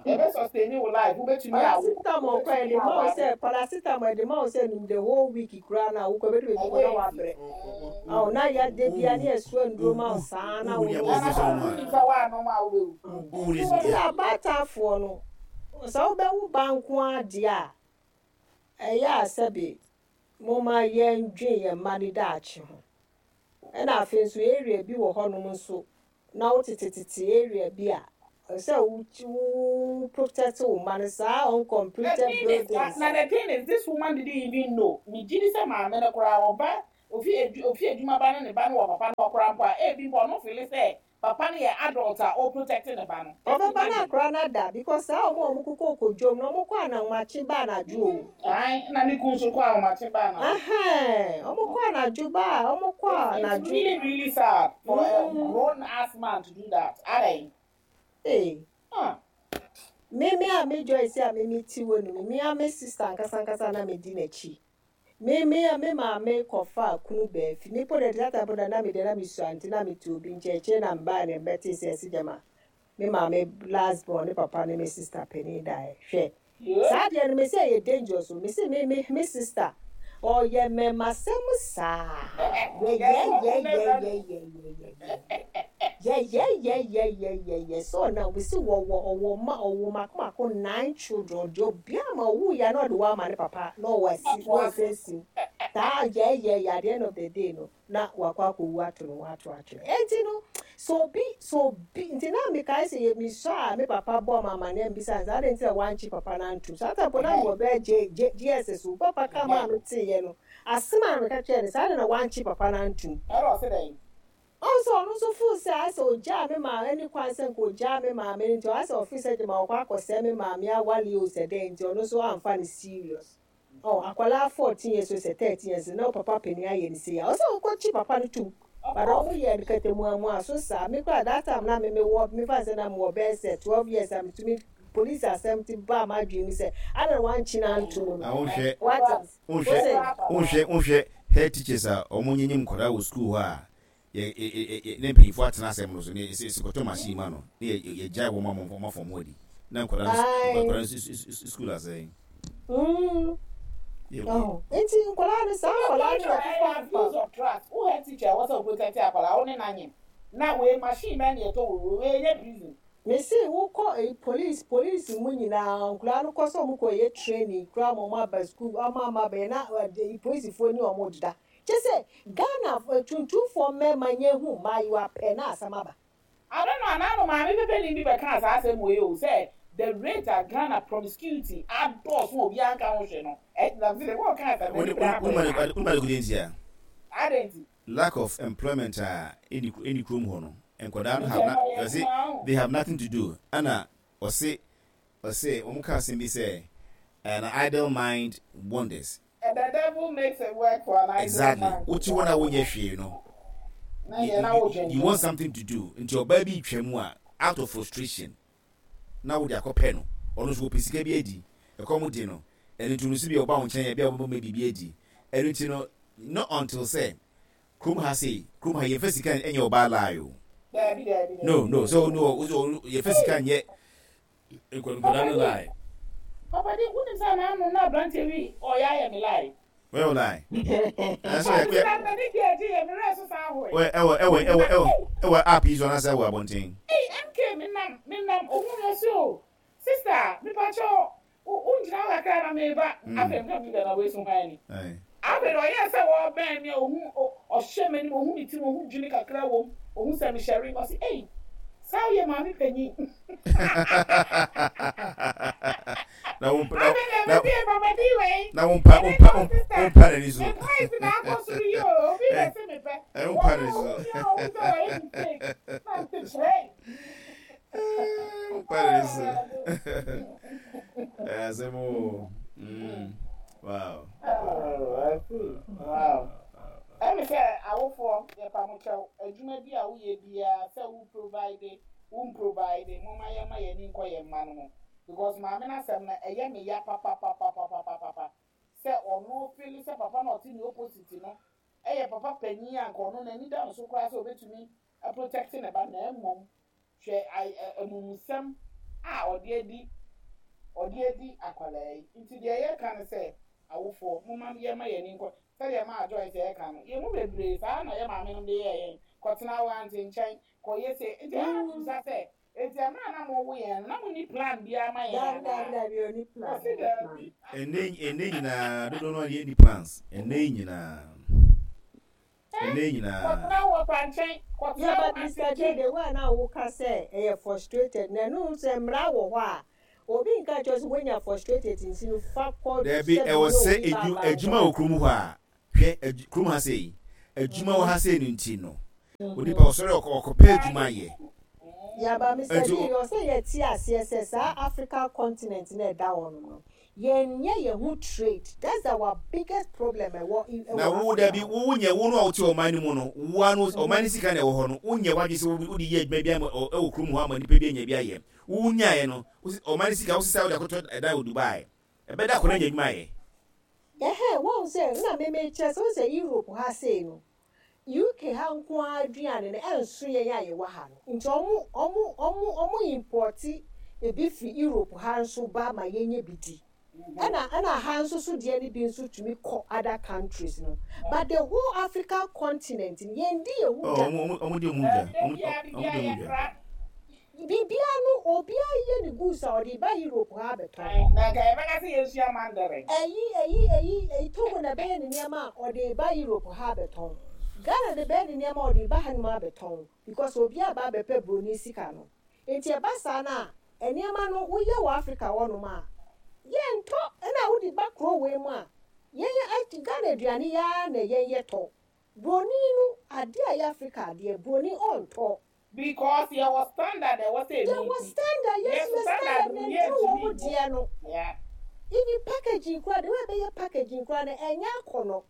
Speaker 5: Yɛbɛ sustain wo life wobɛtumi awo
Speaker 4: Paracetamol kɔ
Speaker 5: wobɛtumi
Speaker 4: ɛde ma wo
Speaker 5: aware.
Speaker 4: sɛ paracetamol ɛde ma wo sɛ num the whole week koraa na wokɔ bɛdu baabi kɔ
Speaker 5: Ɛnyɛ
Speaker 4: na
Speaker 5: easy.
Speaker 4: wabrɛ ɔho na yɛade bia ne yɛsoa nduro ma wo saa na
Speaker 3: wowu
Speaker 4: wo
Speaker 3: deɛ
Speaker 5: Na
Speaker 3: wowu
Speaker 5: na
Speaker 3: sɛ
Speaker 5: sɛ
Speaker 3: wo
Speaker 5: wonim sɛ woanom a wobɛwu.
Speaker 3: wowu
Speaker 4: nti
Speaker 3: deɛ
Speaker 4: abaatafoɔ no sɛ wobɛwo ba nko adeɛ a ɛyɛ a sɛbe momma yɛndwen yɛn mma ne daakye ho ɛna afei nso area bi wɔ hɔnom nso na wotetetete area bi a sɛ wo wo protect wo mma no saa
Speaker 5: The
Speaker 4: uncompleted
Speaker 5: thing is,
Speaker 4: buildings.
Speaker 5: na the thing is, this woman didn't even know. Me gidi sɛ maame no koraa ɔba Ofi adwu ofi adwuma ba ne ne ba no wɔ papa no hɔ koraa mpo a, ebi mpo ɔno feeli sɛ papa no yɛ adult a ɔ protect ne ba no. Just
Speaker 4: Ɔbɛba na
Speaker 5: imagine.
Speaker 4: akora no ada because saa ɔmo a ɔmo kokɔ kɔ dwom no ɔmo kɔ ananmakye ba anadwo o.
Speaker 5: Ae, na ne kun nso kɔ ahomakye ba anadwo.
Speaker 4: Ɛhɛn, ɔmo kɔ anadwo ba a, ɔmo kɔ
Speaker 5: It's it's
Speaker 4: anadwo.
Speaker 5: really really sad for a
Speaker 4: Mm,
Speaker 5: grown ass man to do that. Adɛn?
Speaker 4: ee.
Speaker 5: Huh.
Speaker 4: Me me a me Joyce a me me ti wɔ no me a me sister ankasa ankasa na me di n'akyi. Me me a me maame kɔfaa kunu baa fi. Me po de that time po de na me de na me sua nti na me te obi nkyɛn akyire na me baa na me bɛtee sɛ ɛse gyama me maame last born ne papa ne me sister panin daeɛ. Hwɛ
Speaker 5: Yeah.
Speaker 4: saa adeɛ no me se ɛyɛ dangerous o. Me se me me me sister ɔyɛ mɛmasɛm saa yɛyɛyɛyɛyɛyɛyɛyɛyɛyɛyɛyɛyɛyɛyɛ sɛ ɔnam me se wɔwɔ ɔwɔ ma ɔwɔ mako mako nine children ɔde obiara ma ɔwu ya na ɔde wɔn ama ne papa na ɔwɔ asi na ɔsɛ si saa yɛyɛyɛ at the end of the day no na wakɔ akɔwu ato ne ho ato atwene enti no sɛ obi sɛ obi nti na mekae sɛ yɛ mesɔ a me papa bɔ ma amanneɛ mbisa no sɛ adɛn nti na wankye papa no antom saa time po na mewɔ bɛyɛ J J JSS o papa ka maa meteeɛ no asɛm a meka kyerɛɛ no saa adɛn na wankye papa no antom.
Speaker 5: Ɛna ɔse dɛn?
Speaker 4: Ɔhu sɛ ɔno nso feel sɛ ayɛ sɛ ogyaa me maame ɛne kwan sɛ nka ogyaa me maame no nti ɔayɛ sɛ ɔfeel sɛ gyama ɔkɔ akɔsɛe me maame awale o sɛ dɛn nti ɔno nso amfa no serious. Oh akwadaa 14 years o sɛ 13 years na wo papa panin ayɛ no sei a ɔsɛ ɔkɔ kye papa no tom but ɔmo yɛ no kɛtɛmuamua so saa me koraa that time na me me wɔ me fa sɛ na me wɔ bɛyɛ sɛ 12 years a metumi police asɛm ti baa m'adwene mu sɛ adɛn na wankye no antom no
Speaker 3: Na wonhwɛ
Speaker 4: wate ase
Speaker 3: wonhwɛ
Speaker 4: wose.
Speaker 3: wonhwɛ wonhwɛ head teachers a wɔn nyenyem nkwadaa wɔ school hɔ a yɛ yɛ yɛ ne mpanyinfoɔ atena asɛm no so ne yɛ sɛ kɔtɔ machine ma no ne yɛ yɛgyae wɔn ama wɔn afɔm ho adi na nkwadaa no
Speaker 4: Ae.
Speaker 3: nkwadaa no school asɛe.
Speaker 4: Mm.
Speaker 3: Yɛ
Speaker 4: Oh. Nti nkwadaa no saa nkwadaa no na ɛfefa fefa.
Speaker 5: Abuse of trust. Wo head teacher ɛwɔ sɛ wo protect akwadaa wo ne no anyem na wei machine bɛn na yɛtɔ wɔ wei wei ɛnyɛ prison.
Speaker 4: Me se wo kɔ eyi police police mu nyinaa nkwadaa no kɔ sɛ ɔmo kɔ yɛ training koraa ma ɔmo aba school ɔmo ama abɛyɛ na eyi polisifoɔ ni ɔmo deda kyɛ sɛ Ghana tuntumfoɔ mmarima nyɛ hu mmaayewa pɛ na asɛm aba.
Speaker 5: I don't know anaa no maame pɛpɛni bi bɛkaa saa asɛm wei o sɛ the rate a Ghana promiscuity adɔɔso a obiara nka ho hwee no ɛ na sɛ wɔn kaa asɛm no
Speaker 3: Wone
Speaker 5: koraa
Speaker 3: wone
Speaker 5: kɔɛ
Speaker 3: wone ade kodi ntia?
Speaker 5: Adɛn nti?
Speaker 3: Lack of employment a ɛni ɛni kurom hɔ no nkwadaa no
Speaker 5: Nti
Speaker 3: have
Speaker 5: ɛma
Speaker 3: na
Speaker 5: yɛn
Speaker 3: ɔse
Speaker 5: nkomaa ho.
Speaker 3: they have nothing to do ɛna ɔse ɔse wɔn ka asɛm bi sɛ an idle mind wanders.
Speaker 5: And the devil makes it work for an idle
Speaker 3: Exactly
Speaker 5: mind.
Speaker 3: wote hɔ na wonyɛ hwee no
Speaker 5: Na
Speaker 3: you
Speaker 5: yɛ na
Speaker 3: you you
Speaker 5: wodwendwen.
Speaker 3: want something to do nti ɔbaa bi retwa mu a out of frustration na wode akɔpɛ no ɔno nso ɔpɛ sika bi adi ɛkɔm de no ɛno nti no nso bi a ɔba wo nkyɛn a bi a wobɛma biribi adi ɛno nti no not until sɛ kurom ha sei kurom ha yɛmfa sika nyɛ ɔbaa lie o
Speaker 5: Daabi daabi
Speaker 3: no
Speaker 5: daabi
Speaker 3: no
Speaker 5: daabi.
Speaker 3: so no so yɛmfa sika nyɛ nkwadaa no lie.
Speaker 5: Papa di wonim sɛ n'ano na aberanteɛ bi ɔyɛ ayɛ me lie.
Speaker 3: Wɔyɛ wo lie. Ɛsɛ
Speaker 5: Ɔte
Speaker 3: yɛ
Speaker 5: na m'ani gye agye yɛ me werɛ so san hoe.
Speaker 3: Wɔ ɛwɔ ɛwɔ ɛwɔ ɛwɔ ɛwɔ app yi so anaasɛ ɛwɔ abɔnten.
Speaker 5: Ei MK me nam me nam ohun yɛ so o sister mepa kyɛw wo wo ngyina hɔ kakra na meba afei meka me na wei so hwan ni afei de ɔyɛɛ sɛ wɔbɛn me a ohun ɔhyɛ m'anim ohun me tirim ohun dwene kakra wom ohun sɛ mehyɛ ring ɔse ei saa woyɛ maame panyin
Speaker 3: na wo na
Speaker 5: afei de
Speaker 3: na
Speaker 5: mese papa di wei
Speaker 3: na wo mpa wo
Speaker 5: ɛne
Speaker 3: mpa
Speaker 5: no
Speaker 3: wo
Speaker 5: sister
Speaker 3: mpa n'ani so
Speaker 5: me voice na akɔ soro yi o obi
Speaker 3: ɛ
Speaker 5: na se mepɛ
Speaker 3: ɛ wo mpa
Speaker 5: wɔn
Speaker 3: n'ani
Speaker 5: a
Speaker 3: so
Speaker 5: ohun mi a ohun sɛ wɔyɛ mistake na nte kyerɛ
Speaker 3: wo mpa n'ani so ɛ asɛm o mm wow
Speaker 5: Oh, I see. Wow. Ɛne sɛ awofoɔ yɛpa mo kyɛw adwuma bi a woyɛ biara sɛ wo provide wo mprovide momma yɛmma yɛn ani nkɔ yɛn mma no ho because maame no asɛm no ɛyɛ me ya papapapapapapa sɛ ɔno feeli sɛ papa no a ɔte ne opposite no ɛyɛ papa panyin a nka ɔno n'ani da no so koraa sɛ ɔbɛtumi aprotect ne ba na mmom Hwɛ amumusɛm a ɔde adi ɔde adi akwadaa yi. Nti deɛ yɛka ne sɛ, awofoɔ, momma yɛmma yɛn ani nkɔ, sɛdeɛ maa Joyce reka no, yɛn mu bebree, saa na yɛn maamenom de yɛɛ yɛn, kɔtena wo aunty nkyɛn, kɔyɛ sei. Nti ɛyɛ a na mebisa sɛ, enti mmerɛ a na mowo yɛn no, na monni plan biara ma yɛn
Speaker 4: Daabi, daabi,
Speaker 5: anaa?
Speaker 4: daabi, ɔnni plan,
Speaker 5: Ɔse
Speaker 4: ɔnni plan.
Speaker 5: daabi.
Speaker 3: Ɛnnɛ yi ɛnnɛ nyinaa dodoɔ no ara yɛnni plans ɛnnɛ yi nyinaa. Ɛnnɛ yi nyinaa.
Speaker 5: Kɔtena wo wɔfa nkyɛn, kɔtena
Speaker 4: Yeah,
Speaker 5: wo
Speaker 4: but
Speaker 5: aunty
Speaker 4: Mister J,
Speaker 5: nkyɛn.
Speaker 4: the way a na woka sɛ ɛyɛ frustrated no, ɛno sɛ mmara wɔ hɔ a, obi nka nkyerɛ wo sɛ woanya frustrated nti no fa kɔ
Speaker 3: Dabi,
Speaker 4: sɛ
Speaker 3: ɛwɔ
Speaker 4: bi ne
Speaker 3: sɛ
Speaker 4: obi ba
Speaker 3: edwu
Speaker 4: aba
Speaker 3: adwuma
Speaker 4: nkɔda.
Speaker 3: wɔ kurom hɔ a, Hwɛ, adwu, kurom ha sei, adwuma wɔ ha sei no nti no, onipa ɔsɔre ɔkɔ ɔkɔpɛ adwuma yɛ.
Speaker 4: Yaba, Mister
Speaker 3: Nti
Speaker 4: D,
Speaker 3: o.
Speaker 4: ɔsɛ yɛte aseɛ sɛ saa Africa continent no a ɛda hɔ nom no, yɛnyɛ yɛn ho trade. That's our biggest problem ɛwɔ ɛwɔ
Speaker 3: Na wo
Speaker 4: Africa
Speaker 3: dabi,
Speaker 4: hɔ.
Speaker 3: wo wonyɛ, wo no a wote ɔman no mu no, wo ara no, ɔman no sika na ɛwɔ hɔ no, wonyɛ w'adwene sɛ wode yɛ adwuma bi ama ɔ, ɛwɔ kurom hɔ ama nipa bi anya bi ayɛ. Wo wonyaeɛ no, wo se, ɔman no sika, wosesa wode akɔtɔ ɛdan wɔ Dubai. Ɛbɛda akɔda anya adwuma ayɛ.
Speaker 4: Ɛhɛn, woahu sɛ nna me mekyerɛ sɛ, wohu sɛ Europe ha sei no, UK ha nko ara aduane no ɛnso yɛn a yɛwɔ ha no, nti ɔmo ɔmo ɔmo ɔmo importe ebi firi Europe ha nso ba ma yɛnya bi di. Ɛna ɛna ha nso so deɛ no bi nso tumi kɔ other countries no, but the whole Africa continent no yɛndi yɛn ho
Speaker 3: Oh,
Speaker 4: dwa.
Speaker 3: ɔmo ɔmo ɔmo di ɔmo ho dwa.
Speaker 5: Da
Speaker 3: Ɔmo
Speaker 5: biara
Speaker 3: ɔmo di
Speaker 5: biribiara
Speaker 3: ɔmo ho dwa.
Speaker 5: yɛkra.
Speaker 4: Biribiara no obiara yɛ ne goods a ɔde ba Europe ha abɛtɔn.
Speaker 5: Na nka yɛbɛka sɛ yɛnsua Mandarin.
Speaker 4: Ɛyi ɛyi ɛyi ɛyi Togo na ɛbɛyɛ ne nneɛma a ɔde ba Europe ha abɛtɔn. Ghana na ɛbɛyɛ ne nneɛma a ɔde ba hanom abɛtɔn because obiara ba abɛpɛ broni sika no. Nti ɛba saa no a nneɛma no woyɛ wɔ Africa hɔnom a yɛntɔ ɛna wode ba kuro wei mu a yɛn Ghana aduane yi ara na yɛn yɛtɔ. Broni no adeɛ a ɛyɛ Africa adeɛ broni ɔntɔ.
Speaker 5: Because yɛwɔ standard a ɛwɔ sɛ
Speaker 4: Yɛwɔ
Speaker 5: ɛmeeti.
Speaker 4: standard, yes,
Speaker 5: Yɛn
Speaker 4: yɛ
Speaker 5: so standard
Speaker 4: standard
Speaker 5: no
Speaker 4: na ɛduru
Speaker 5: yɛntumi
Speaker 4: wɔn
Speaker 5: mmɔ.
Speaker 4: deɛ no.
Speaker 5: Yeah.
Speaker 4: Even packaging koraa, the way ɛbɛyɛ packaging koraa no, ɛnyɛ akɔnɔ.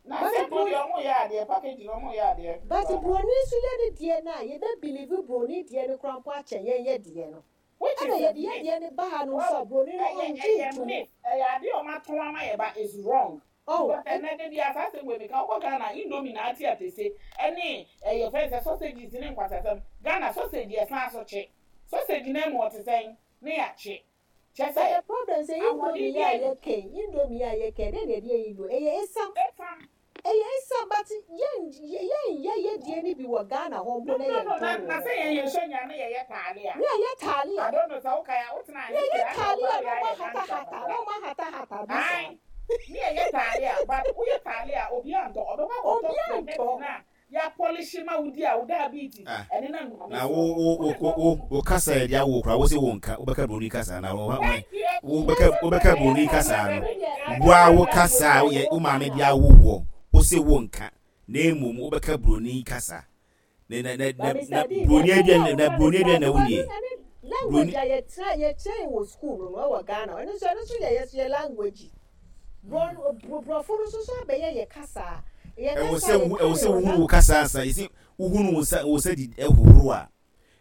Speaker 5: Na
Speaker 4: But
Speaker 5: sɛ mpo
Speaker 4: bro,
Speaker 5: deɛ ɔmo yɛ adeɛ, packaging ɔmo yɛ adeɛ
Speaker 4: but
Speaker 5: paa.
Speaker 4: broni nso yɛ ne deɛ no a, yɛbɛ believe broni deɛ no koraa mpo akyɛn yɛn yɛ deɛ no.
Speaker 5: Which
Speaker 4: Ɛna
Speaker 5: is a
Speaker 4: yɛde yɛ
Speaker 5: myth.
Speaker 4: deɛ no ba ha no nso
Speaker 5: Wahu?
Speaker 4: a, broni no
Speaker 5: Ɛyɛ
Speaker 4: ɔngye
Speaker 5: ɛyɛ
Speaker 4: ntom.
Speaker 5: myth. Ɛyɛ adeɛ a ɔmo atɔn ama yɛ but it's wrong.
Speaker 4: Oh,
Speaker 5: Because
Speaker 4: ɛ.
Speaker 5: ɛnɛ da biara saa asɛm wei meka, wokɔ Ghana indomie na ate atese ɛne ɛyɛ fɛn sɛ sausages ne nkwasasɛm. Ghana sausage yɛ san so kye. Sausage no amu ɔte sɛn ne yɛakye. Kyerɛ
Speaker 4: But the
Speaker 5: sɛ
Speaker 4: problem sɛ
Speaker 5: ahoɔden
Speaker 4: indomie yi a
Speaker 5: biara nni.
Speaker 4: yɛka yi, indomie yi a yɛka yi, dɛn na yɛde yɛ indomie? Ɛyɛ esiam.
Speaker 5: Esiam.
Speaker 4: Ɛyɛ esiam but yɛn yɛnyɛ yɛ deɛ no bi wɔ Ghana hɔ mpo
Speaker 5: No
Speaker 4: na
Speaker 5: no no
Speaker 4: yɛntɔn
Speaker 5: na
Speaker 4: wɔ
Speaker 5: na
Speaker 4: hɔ.
Speaker 5: sɛ yɛn yɛsua nnuane na yɛyɛ taalia.
Speaker 4: Ne yɛyɛ taalia.
Speaker 5: I don't know sɛ wokae a wotena
Speaker 4: Ne
Speaker 5: UK
Speaker 4: yɛyɛ
Speaker 5: a na
Speaker 4: taalia
Speaker 5: wobaa
Speaker 4: na
Speaker 5: yɛ
Speaker 4: ɔmo
Speaker 5: ayɛ dansa
Speaker 4: ahatahata
Speaker 5: kakra.
Speaker 4: na ɔmo ahatahata bi saa.
Speaker 5: Ae ne yɛyɛ taalia but woyɛ taalia a obiara ntɔ ɔbɛkɔ akɔtɔ
Speaker 4: Obiara
Speaker 5: spaghetti
Speaker 4: ntɔ.
Speaker 5: no a yɛapɔlehye ma wodi a wo diabetes
Speaker 3: Ah,
Speaker 5: ɛnenam nyame
Speaker 3: na
Speaker 5: soɔ
Speaker 3: wo
Speaker 5: no
Speaker 3: wo
Speaker 5: wode
Speaker 3: wo
Speaker 5: kɔ
Speaker 3: wo wo kasa yɛ de awo koraa wo se wo nka wobɛka broni kasa na wo
Speaker 5: Thank you
Speaker 3: wo
Speaker 4: Na
Speaker 3: bɛka
Speaker 4: sɛ
Speaker 3: wobɛka
Speaker 4: broni
Speaker 3: broni
Speaker 4: kasa
Speaker 3: kasa
Speaker 4: no
Speaker 3: no
Speaker 4: wo deɛ ade
Speaker 3: wo a wo
Speaker 4: a
Speaker 3: kasa
Speaker 4: broni
Speaker 3: a
Speaker 4: a
Speaker 3: woyɛ wo
Speaker 4: woka
Speaker 3: maame
Speaker 4: no
Speaker 3: de
Speaker 4: a.
Speaker 3: awo woɔ wo se wo nka na mmom wobɛka broni kasa na na na
Speaker 4: But
Speaker 3: na na
Speaker 4: Mister D,
Speaker 3: broni
Speaker 4: deɛ ɛbɛyɛ
Speaker 3: aduane
Speaker 4: a
Speaker 3: na
Speaker 4: woka no
Speaker 3: broni
Speaker 4: saa
Speaker 3: aduane
Speaker 4: no
Speaker 3: na
Speaker 4: ɛno
Speaker 3: wonie
Speaker 4: ɛne language
Speaker 3: broni
Speaker 4: a yɛkyerɛ yɛkyerɛ yɛn wɔ school no no ɛwɔ Ghana ɛno nso ɛno nso yɛ yɛ so yɛ language brɔ brɔfo no nso so abɛyɛ yɛ kasa yɛ
Speaker 3: ɛwɔ
Speaker 4: kasa
Speaker 3: sɛ
Speaker 4: a
Speaker 3: wo
Speaker 4: yɛka
Speaker 3: ɛwɔ
Speaker 4: no
Speaker 3: sɛ
Speaker 4: wɔ
Speaker 3: wohunu wo
Speaker 4: language
Speaker 3: kasa ansa yɛsi wohunu wo nsa wo nsa di ɛhohoro a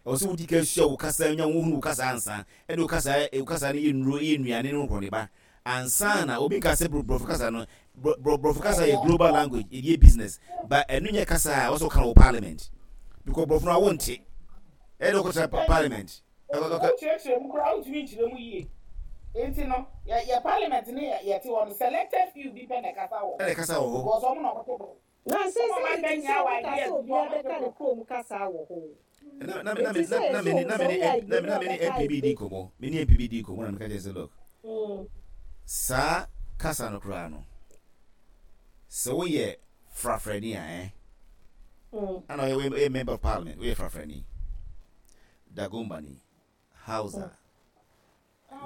Speaker 3: Ɛwɔ sɛ wodi kan sua wo kasa, nya wohunu wo kasa ansa. Ɛde wo kasa, wo kasa no yɛ nnuro, yɛ nnuane ne nkorɔneba ansa na obi nka sɛ borɔfo kasa no, borɔfo kasa yɛ global language, yɛde yɛ business, but ɛno nyɛ kasa a ɛwɔ sɛ woka no wɔ parliament. Because borɔfo no a wonte. Ɛyɛ dɛ wokɔtena parliament.
Speaker 5: Wokyerɛkyerɛ mu koraa wontumi nkyerɛ mu yie. Nti no, yɛ yɛ parliament ne yɛte hɔ no, selected few bi pɛ na ɛkasa wɔ
Speaker 3: hɔ. Ɛna ɛkasa wɔ hɔ.
Speaker 5: Because wɔn na wɔte borɔfo.
Speaker 4: Na seesei nti sɛ woka sɛ obiara bɛka ne kurom kasa wɔ hɔ o.
Speaker 3: Na na na
Speaker 4: Enti sɛ
Speaker 3: na
Speaker 4: yɛsɛ
Speaker 3: me
Speaker 4: wɔn
Speaker 3: na
Speaker 4: sɛ
Speaker 3: me
Speaker 4: woyɛ
Speaker 3: ne
Speaker 4: ayie
Speaker 3: na
Speaker 4: no a
Speaker 3: me ne
Speaker 4: bɛka
Speaker 3: MP bi di
Speaker 4: ayie.
Speaker 3: nkɔmmɔ. Me ne MP bi di nkɔmmɔ na meka kyerɛ sɛ look, saa kasa no koraa no, sɛ woyɛ frafrani a eh, ana woyɛ woyɛ member of parliament, woyɛ frafrani, Dagombani, Hausa,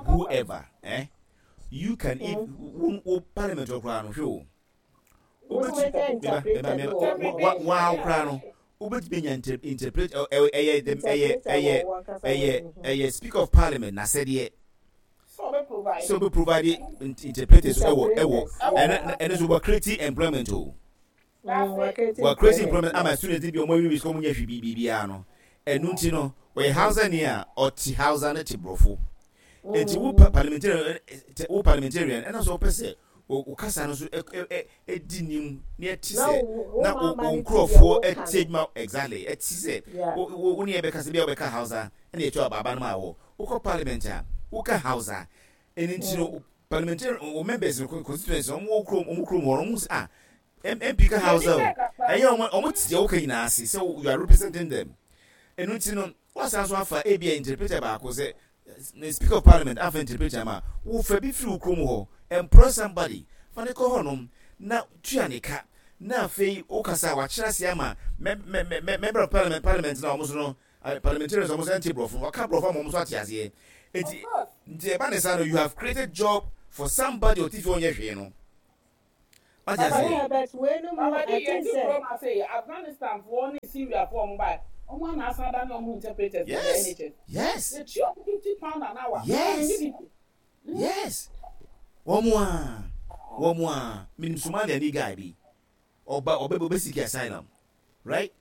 Speaker 3: whoever, eh, you can if wo wo parliament hɔ koraa no hwɛ o. Wobɛtumi waa koraa no wobɛtumi anya interpret ɛyɛ ɛyɛ ɛyɛ ɛyɛ ɛyɛ speaker of parliament n'asɛdeɛ sɛ ɔbɛ provide interpreters ɛwɔ ɛwɔ ɛno ɛno so wɔ create employment o wɔ create employment ama students bi ɔmo awi sukuu ɔmo nyɛ hwee biribiara no ɛno nti no ɔyɛ hausa ni a ɔte hausa ne te borɔfo nti wo parliamentarian wo parliamentarian ɛna so ɔpɛ sɛ wo kasa no so di nim na ɛte sɛ na wo nkurɔfoɔ ɛte adwuma exactly ɛte sɛ wo ne yɛbɛka sɛ bia wobɛka Hausa ɛna ɛtu abaaba no ma wɔ wokɔ parliament a woka Hausa ɛno nti no parliamentarian wo members no constituency wɔn wɔ kurom wɔn kurom hɔ wɔn sɛ ah MP ka Hausa o ɛyɛ wɔn wɔn te deɛ woka nyinaa ase sɛ you are representing them ɛno nti no Woasan nso afa ebia interpreter baako sɛ ne Speaker of Parliament amfa interpreter amma a, wo fa bi firi wo kurom hɔ, employ somebody, fa no kɔ hɔnom na tua ne ka, na afei wokasa a wakyerɛ aseɛ ama Member of Parliament, Parliament no a wɔn nso no, parliamentarians a wɔn nso ɛnte borɔfo no, waka borɔfo ama wɔn nso ate aseɛ. Nti, nti ɛba ne saa no, you have created job for somebody ɔte fie ɔnyɛ hwee no. Wate
Speaker 5: Papa
Speaker 3: aseɛ?
Speaker 4: Yeah, but weinom no,
Speaker 5: Papa
Speaker 4: I
Speaker 5: di
Speaker 4: think
Speaker 5: yɛte
Speaker 4: sɛ.
Speaker 5: kurom ha sei, Afghanistan foɔ ne Syria foɔ ɔmo bae, ɔmo a na asan adane ɔmo ho interpreters wɔ
Speaker 3: Yes!
Speaker 5: NHS.
Speaker 3: Yes!
Speaker 5: Yɛtua ɔmo £50 an hour.
Speaker 3: Yes!
Speaker 5: Ɔmo nni
Speaker 3: Yes! Wɔn a, wɔn a, menim Somaliani guy bi, ɔba, ɔbɛ, ɔbɛsiki asylum, right?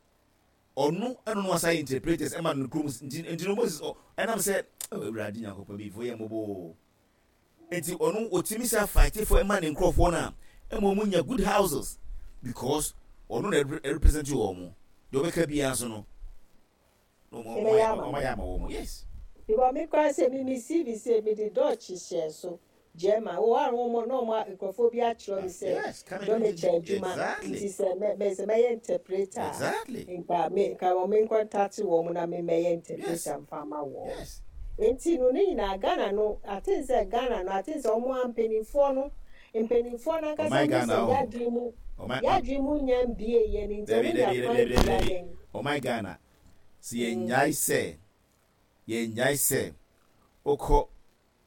Speaker 3: Ɔno ɛna ɔno asa yɛ interpreters ɛma no kurom, nti, nti no Moses, ɔ, ɛnam sɛ, oh, Awurade Nyankopɔn, bifo yɛ mmɔbɔ o. Nti ɔno ɔtumi sa fight for ɛma ne nkorɔfoɔ no a, ɛma ɔmo nya good houses, because ɔno na ɛrepresent wɔn, deɛ ɔbɛka biara nso no, na ɔmo, ɔmo
Speaker 4: Ɛbɛyɛ
Speaker 3: ayɛ,
Speaker 4: ama
Speaker 3: ɔmo
Speaker 4: no.
Speaker 3: ayɛ ama wɔn, yes.
Speaker 4: Because me koraa sɛ me me CV sɛ me de Dutch hyɛɛ so, German, wɔ hɔ a wɔn na wɔn nkurɔfoɔ bi akyerɛ me sɛ
Speaker 3: Yes, come and do
Speaker 4: Dolmetscher adwuma
Speaker 3: exactly.
Speaker 4: nti sɛ mɛ mɛ sɛ mɛyɛ interpreter a
Speaker 3: Exactly.
Speaker 4: nka me nka wɔn me nkɔntate wɔn na me mɛyɛ
Speaker 3: Yes.
Speaker 4: interpreter mfa ma wɔn.
Speaker 3: Yes.
Speaker 4: Nti no ne nyinaa Ghana no I think sɛ Ghana no I think sɛ wɔn a mpanimfoɔ no mpanimfoɔ no ankasa
Speaker 3: Ɔman
Speaker 4: hu
Speaker 3: Ghana
Speaker 4: sɛ
Speaker 3: o.
Speaker 4: yadwene mu
Speaker 3: Ɔman
Speaker 4: yadwene mu nya mbie yɛ no nti
Speaker 3: Dabi
Speaker 4: wɔn nya
Speaker 3: dabi
Speaker 4: kwan
Speaker 3: dabi dabi
Speaker 4: tia
Speaker 3: dabi.
Speaker 4: yɛn.
Speaker 3: Ɔman Ghana. Sɛ yɛnnyae sɛ yɛnnyae sɛ wokɔ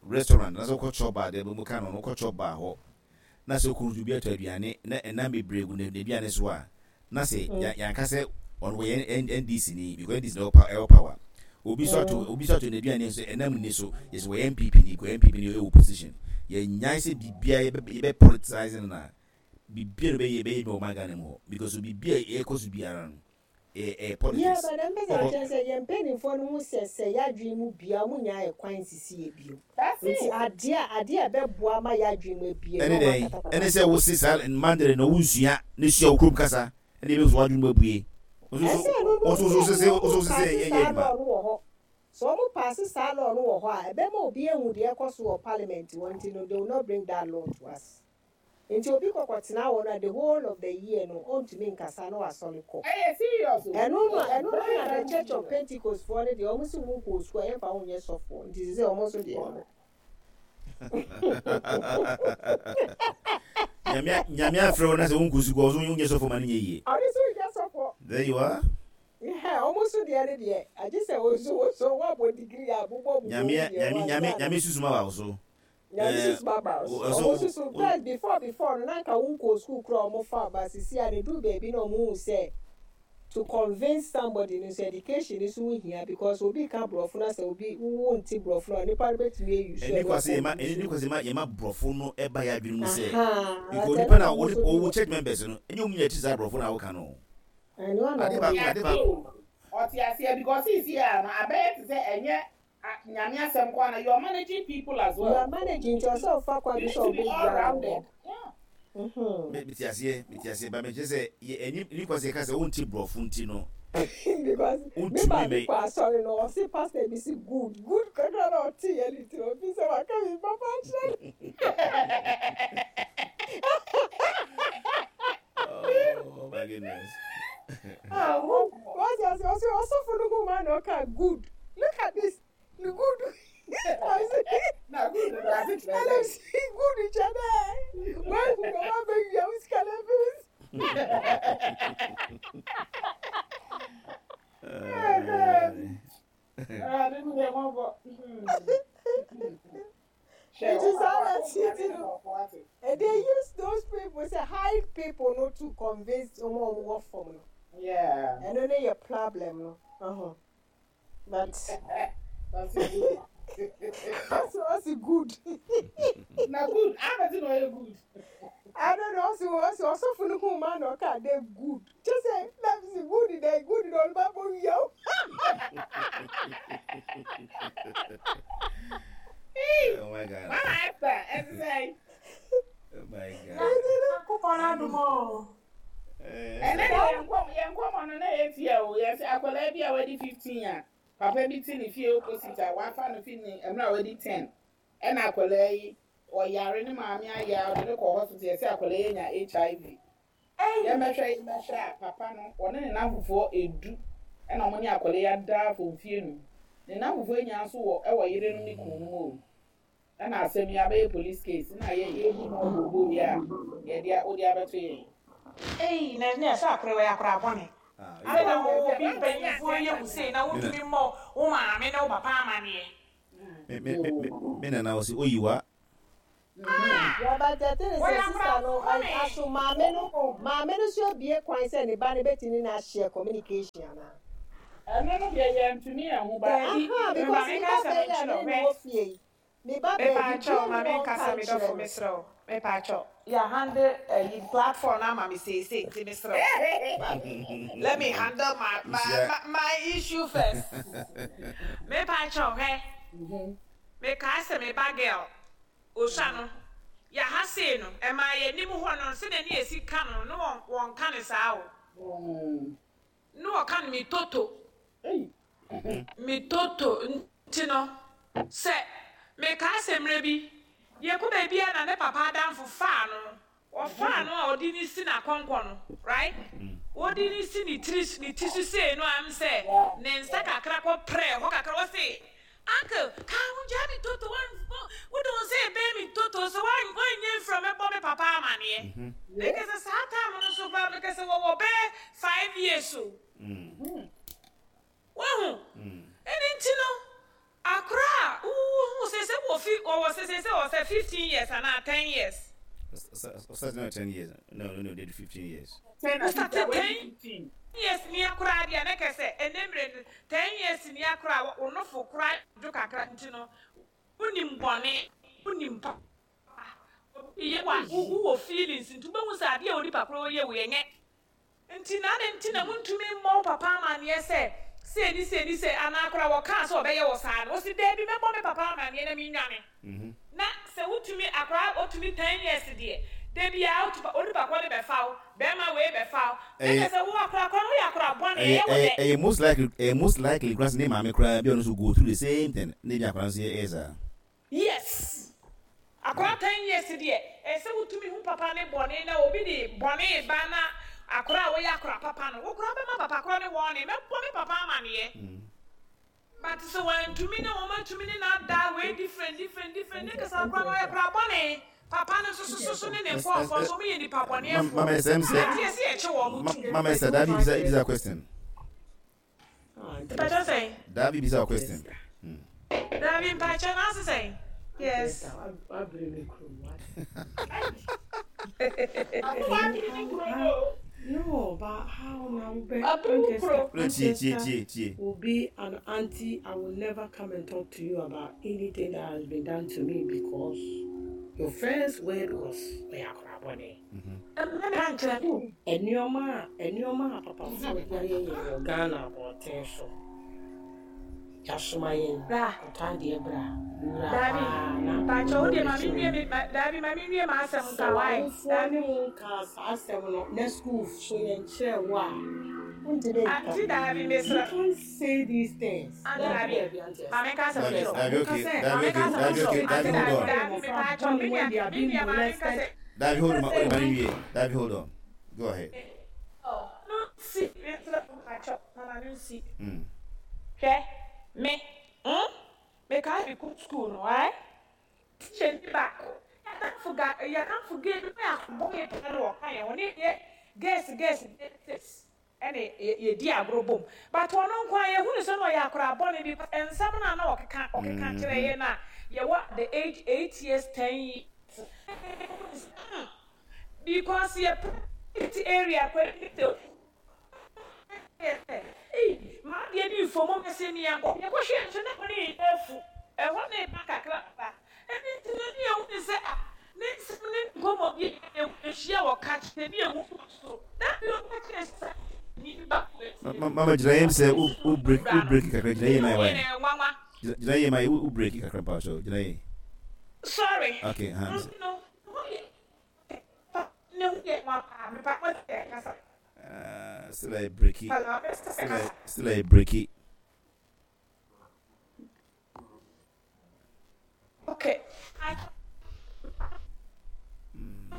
Speaker 3: restaurant anaasɛ wokɔ chop bar deɛ mo ka no no wokɔ chop bar hɔ na sɛ okunu obi atɔ aduane na ɛnam bebree gu n'aduane so a na sɛ yɛanka sɛ ɔno wɔyɛ NDC ni because NDC na ɛwɔ power obi nso ato obi nso ato n'aduane nso ɛnam nni so yɛsɛ wɔyɛ NPP ni because NPP ni ɛwɔ position yɛnnyae sɛ biribiara yɛbɛ politicize no na biribiara bɛyɛ bɛyɛ bi wɔ ɔman Ghana mu hɔ because biribiara ɛkɔ so biara no ɛyɛ
Speaker 4: Yeah,
Speaker 3: politics.
Speaker 4: but ɛmpɛ sɛ akyerɛ sɛ yɛn mpanimfoɔ no hu sɛ sɛ yɛadwene mu bue a wɔn nyaa ɛkwan nsisi yɛ bio.
Speaker 5: That's
Speaker 4: Nti
Speaker 5: it.
Speaker 4: adeɛ a adeɛ a ɛbɛboa ma yɛadwene mu abue
Speaker 3: Ɛne
Speaker 4: no wɔn
Speaker 3: dɛn? Ɛne
Speaker 4: akatakata
Speaker 3: sɛ
Speaker 4: so.
Speaker 3: wose saa Mandarin no wonsua na sua wo kurom kasa ɛne ɛbɛhu sɛ w'adwene mu abue. Wo nso
Speaker 4: Ɛsɛ ɛno
Speaker 3: wo
Speaker 4: no
Speaker 3: nso wo
Speaker 4: sɛ
Speaker 3: sese
Speaker 4: ɛno
Speaker 3: wo nso
Speaker 4: wɔn
Speaker 3: sese
Speaker 4: paase
Speaker 3: ɛyɛ
Speaker 4: saa
Speaker 3: adwuma.
Speaker 4: law no wɔ hɔ. Sɛ wɔn paase saa law no wɔ hɔ a ɛbɛma obi ahu deɛ ɛkɔ so wɔ parliament hɔ nti no they will not bring that law to us. Nti obi kɔ kɔtena hɔ no a the whole of the year no ɔntumi nkasa na wasɔre kɔ.
Speaker 5: Ɛyɛ serious o.
Speaker 4: Ɛno no
Speaker 5: Ɛyɛ
Speaker 4: ɛno no
Speaker 5: very
Speaker 4: na the
Speaker 5: very
Speaker 4: church of
Speaker 5: serious.
Speaker 4: Pentecost foɔ no deɛ wɔn se wo nkɔɔ sukuu a yɛmfa wo nyɛ sɔfoɔ nti sesei wɔn nso deɛ no.
Speaker 3: Nyame Nyame afrɛ wo na sɛ wonkɔ sukuu a wo nso wonyɛ sɔfoɔ ma no nyɛ yie.
Speaker 4: Ɔno nso nyɛ sɔfoɔ.
Speaker 3: There you are.
Speaker 4: Yɛɛ wɔn nso deɛ no deɛ agye sɛ wo nso wo nso woabɔ degree a bobɔ bobɔ wo
Speaker 3: Nyame
Speaker 4: deɛ
Speaker 3: Nyame
Speaker 4: wo
Speaker 3: Nyame
Speaker 4: ansa na.
Speaker 3: Nyame susuma ba wo so.
Speaker 4: Nyame
Speaker 3: Eh,
Speaker 4: susu ba ba wo so.
Speaker 3: wo- so
Speaker 4: Ɔmo susu
Speaker 3: wo-
Speaker 4: first before before no na nka wo nkɔɔ school koraa ɔmo fa wo but sisi a no eduru baabi na ɔmo hu sɛ to convince somebody no nso education no nso ho hia because obi ka brɔfo na sɛ obi wo wo nte brɔfo no a nipa no betumi a use
Speaker 3: Ɛni
Speaker 4: ɛno
Speaker 3: kwa sɛ
Speaker 4: akɔ
Speaker 3: yɛma
Speaker 4: use
Speaker 3: ɛni kwa sɛ yɛma yɛma brɔfo no ɛba yɛ adwene mu sɛ
Speaker 4: ahaa
Speaker 3: because
Speaker 4: but
Speaker 3: nipa
Speaker 4: ɛno
Speaker 3: na
Speaker 4: na ɔmo
Speaker 3: wɔde
Speaker 4: nso de
Speaker 3: wɔwɔ church members no ɛnyɛ wɔn nyinaa ti saa brɔfo na wɔka no
Speaker 4: ɛno na
Speaker 3: ade
Speaker 4: ɔmo
Speaker 3: baako
Speaker 4: de
Speaker 3: ade
Speaker 5: Ɔte
Speaker 3: baako
Speaker 5: o. Ɔte aseɛ because seesei a no abɛyɛ te sɛ ɛnyɛ Nyame asɛm nko ara na you are managing people as
Speaker 4: You are
Speaker 5: well.
Speaker 4: managing nti ɔsɛ ɔfa kwan
Speaker 5: You
Speaker 4: bi
Speaker 5: need
Speaker 4: so
Speaker 5: to be
Speaker 4: ɔbɛwura
Speaker 5: all
Speaker 4: wɔn
Speaker 5: rounded.
Speaker 4: hɔ.
Speaker 5: Yeah.
Speaker 4: Mhm.
Speaker 3: Me te aseɛ me te aseɛ ba mekyerɛ sɛ yɛ ɛni ɛni kwa sɛ yɛka sɛ wonte brɔfo nti no
Speaker 4: Because me
Speaker 3: wontumi
Speaker 4: maame
Speaker 3: mɛ
Speaker 4: kɔ asɔre no ɔse pastor bi se good good kakra na ɔte yɛ ne ti ofi sɛ waka mi papa akyerɛ no.
Speaker 3: Oh my goodness.
Speaker 4: Wate ase ɔse ɔsɔfo no hu ma na ɔka good look at this no good
Speaker 5: Na good no ase kyerɛ
Speaker 4: ɛna
Speaker 5: sɛ.
Speaker 4: si good kyɛ dɛ wahu na wabɛwia wo sika no afiri wo
Speaker 5: Awurade hu yɛn mmɔbɔ. Hwɛ,
Speaker 4: Nti
Speaker 5: wo
Speaker 4: saa
Speaker 5: papa
Speaker 4: na
Speaker 5: akɔkora
Speaker 4: titi
Speaker 5: ne
Speaker 4: no
Speaker 5: nkurɔfoɔ ate.
Speaker 4: eh, they use those people sɛ hide people no to convince wɔn a wɔwɔ fam no
Speaker 5: Yeah.
Speaker 4: ɛno ne yɛ problem no uh-huh. but
Speaker 5: That's good.
Speaker 4: ɔsi ɔsi good
Speaker 5: Na good. Abɛti na ɔyɛ good.
Speaker 4: I don't know ɔsi ɔsi ɔsɔfo no hu ma na ɔka de good kyɛ sɛ na si good dɛ good dɛ ɔno ba bɔ wia o.
Speaker 5: Hey,
Speaker 3: Oh my God.
Speaker 5: Mama Esther, ɛte sɛn?
Speaker 3: Oh my
Speaker 2: Na
Speaker 3: God.
Speaker 2: Nyankopɔn adom o.
Speaker 5: Ɛnɛ deɛ yɛn nkɔm yɛn nkɔmɔ no na yɛ tia o. Yɛsɛ akwadaa bi a wadi 15 a papa bi te ne fie opposite a wafa no fi ne mmerɛ a wadi 10 ɛna akwadaa yi ɔyare ne maame ayɛ a ɔde no kɔ hospital yɛsɛ akwadaa yi anya HIV.
Speaker 2: Ei!
Speaker 5: Yɛmmɛhwɛ yɛmmɛhwɛ a papa no ɔne ne nnamfofoɔ edu ɛna ɔmo ne akwadaa yi ada afɔ mfie num. Ne nnamfofoɔ yi nyinaa nso wɔ ɛwɔ yerenom ne kununom o. Ɛna asɛm yi abɛyɛ police case na yɛ yɛbu ho obobo yi a yɛde a wode abɛto yɛn.
Speaker 2: Ei, na ɛnɛ sɛ akora wei akora bɔne.
Speaker 3: Ah,
Speaker 2: Adɛn na
Speaker 5: Sɛ
Speaker 2: wo
Speaker 5: sɛ
Speaker 2: obi
Speaker 5: maame ne
Speaker 2: mpanyinfoɔ
Speaker 5: ante
Speaker 2: yɛ wo sei na
Speaker 3: me na
Speaker 2: wontumi mmɔ wo maame ne wo papa amaneɛ?
Speaker 3: me me me me nana ɔsi oyiwa.
Speaker 2: Ah!
Speaker 4: Yeah, but the thing is,
Speaker 2: Wɔyɛ
Speaker 4: sɛ
Speaker 2: akora
Speaker 4: sister no,
Speaker 2: bɔne.
Speaker 4: aso maame no, maame no nso abue kwan sɛ ne ba no betumi ne ahyɛ communication anaa?
Speaker 5: Ɛno no deɛ yɛntumi anhu but.
Speaker 2: Daabi,
Speaker 4: Aha,
Speaker 2: ma
Speaker 4: because
Speaker 2: me
Speaker 4: me
Speaker 2: nka
Speaker 4: ba
Speaker 2: asɛm
Speaker 4: bɛyi a
Speaker 2: nkyerɛ
Speaker 4: me
Speaker 2: wo,
Speaker 4: ne no
Speaker 2: hwɛ.
Speaker 4: wɔ fie yi, me ba baabi
Speaker 2: Mepaakyɛw
Speaker 4: bia
Speaker 2: ma
Speaker 4: ni
Speaker 2: me
Speaker 4: hɔ
Speaker 2: nkasa
Speaker 4: ɔnka
Speaker 2: me
Speaker 4: nkyerɛ
Speaker 2: dɔfo
Speaker 4: no.
Speaker 2: mesrɛ wo mepaakyɛw yɛ handle ayi platform no ama me seesei nti mesrɛ wo let me handle my my
Speaker 3: Nhyia.
Speaker 2: my, my issue first mepaakyɛw hwɛ mekaa sɛ me ba girl osua no yɛ ha sei no ɛmaa yɛ anim hɔ no sɛdeɛ ne yɛsi ka no no wɔn wɔnka no saa o ne wɔka no me toto Me toto nti no, sɛ mekaa sɛ mmerɛ bi yɛkɔ baabi a na ne papa adamfo faa no, ɔfaa no a ɔde no si n'akɔnkɔ no, right? Ɔde no si ne tiri ne ti so sei no a, m sɛ ne nsa kakra kɔ prɛ hɔ kakra, ɔse, Uncle, kaa ho gyaa me toto, wode wo nsa ɛbɛn me toto so, woanyɛ mfiri a mɛbɔ me papa amaneɛ. Mekɛ sɛ saa time no so koraa, mekɛ sɛ wɔwɔ bɛyɛ 5 years o. Wahu? Ɛno nti no, akora a wohu sɛ sɛ wɔ fi wɔwɔ sɛ sɛ sɛ wɔ sɛ 15 years anaa 10 years.
Speaker 3: Ɔsɛ no 10 years. No, they do 15 years.
Speaker 2: Wosate 10 years ni akora deɛ ne kɛ sɛ ɛnɛ mmerɛ no 10 years ni akora a wo nofo kora dwo kakra nti no wonim bɔne, wonim papa, obi yɛ wa wowɔ feelings nti wobɛhu sɛ adeɛ a onipa korɔ yɛ wo yɛnyɛ. Nti na adɛn nti na montumi mmɔ wo papa amanneɛ sɛ sei ne sei ne sei, anaa koraa wɔkaa sɛ ɔbɛyɛ wo saa no, wose daabi mɛbɔ me papa amanneɛ na mennwane. Na sɛ wotumi, akwadaa ɔtumi 10 years deɛ, da biara wotu onipa korɔ no bɛfa wo, bɛrima wei bɛfa wo, na
Speaker 3: Ɛyɛ
Speaker 2: kyerɛ sɛ wo akwadaa korɔ no woyɛ akwadaa bɔne,
Speaker 3: ɛyɛ
Speaker 2: ɛyɛ wo
Speaker 3: ɛyɛ
Speaker 2: dɛ.
Speaker 3: ɛyɛ most likely koraa sɛ ne maame koraa bi a ɔno nso go through the same thing na ebi akwadaa nso yɛ ɛyɛ saa.
Speaker 2: Yes. Akwadaa 10 years deɛ, ɛsɛ sɛ wotumi hu papa ne bɔne na obi de bɔne ba na akwadaa a woyɛ akwadaa papa no, wo koraa bɛma papa korɔ ne wɔne, mɛbɔ me papa amanneɛ. But sɛ wantumi na wɔn atumi ne n'ada wei different different different ne kasa akwadaa no ɔyɛ akwadaa bɔne. Papa no nso so so ne ne nkɔɔfoɔ nso wɔn yɛ nipa bɔneɛfoɔ.
Speaker 3: Mama ɛsɛm sɛ
Speaker 2: Nti yɛsi yɛkye wɔn tum.
Speaker 3: Mama ɛsɛ Davi bisa question.
Speaker 2: Mpakyɛ sɛn?
Speaker 3: Davi bisa question.
Speaker 2: Davi mpakyɛ na ase sɛn? Yes.
Speaker 4: Wabere me kurom. No, but how now?
Speaker 3: No, tie tie tie tie.
Speaker 4: Will be an auntie. I will never come and talk to you about anything that has been done to me because your first word was "Oya bɔne." Nneɛma a papafoɔ de ayɛ yɛn wɔ Ghana abɔnten so. Yɛasoma yɛn ɔtɔ adeɛ bra wura
Speaker 2: Dabi,
Speaker 4: paa na
Speaker 2: mpakyɛ wo deɛ ma me nwie me dabi ma me nwie ma asɛm
Speaker 4: sɛ
Speaker 2: nka wae.
Speaker 4: w'awofoɔ
Speaker 2: Dabi.
Speaker 4: ne wo nka saa asɛm no na school so yɛnkyerɛ wo a wontumi nka.
Speaker 2: Auntie dabi
Speaker 4: You
Speaker 2: mesrɛ.
Speaker 4: can't say these things.
Speaker 2: Auntie dabi. Ma me nka asɛm
Speaker 3: Davi
Speaker 2: nkyerɛ wo.
Speaker 3: Davi okay Davi
Speaker 2: Ma me
Speaker 3: okay
Speaker 2: nka asɛm
Speaker 3: Davi
Speaker 2: nkyerɛ
Speaker 3: okay
Speaker 2: wo.
Speaker 3: Davi
Speaker 2: Auntie
Speaker 3: hold
Speaker 2: dabi
Speaker 3: on.
Speaker 2: dabi mepakyɛ me nua ma me nka sɛ.
Speaker 3: Davi hold on, ma nwie. Davi hold on. Go ahead.
Speaker 2: No nsi mesrɛ wo mpakyɛ mama no nsi. Hwɛ me mekaa me kɔ school no ae teacher ni baako yɛadamfo ga yɛadamfo gay bi na yɛabɔ yɛ paa no wɔka yɛn ho ne yɛ girls girls girls ɛne yɛdi agorɔ bom, but ɔno nko a yɛhunu sɛ na ɔyɛ akwadaa bɔne because nsɛm no a na ɔkeka kyerɛ yɛn a yɛwɔ the age 8 years, 10 years, because yɛ private area kɔ sɛ ei maa deɛ ne nfomu mɛsɛ ni yɛnkɔ yɛkɔhwɛ nso na ɛhɔ ne yɛ afu ɛhɔ ne ba kakra ba ɛne nti no ne yɛhu ne sɛ ah ne nsɛm ne nkɔmmɔ bi ahyia wɔ ka kyerɛ ne yɛhu so na bi ɔka kyerɛ sɛ ni ba.
Speaker 3: Mama, gyina yam sɛ wo break kakra, gyina yam ayɛ wae.
Speaker 2: Nwanwa.
Speaker 3: Gyina yam ayɛ wo break kakra mpa so gyina yam.
Speaker 2: Sorry.
Speaker 3: Okay, ha.
Speaker 2: No ne ho yɛ nwa paa mepa mo sɛ kasa.
Speaker 3: Still I break it.
Speaker 2: Hello.
Speaker 3: Still I break it.
Speaker 2: Okay.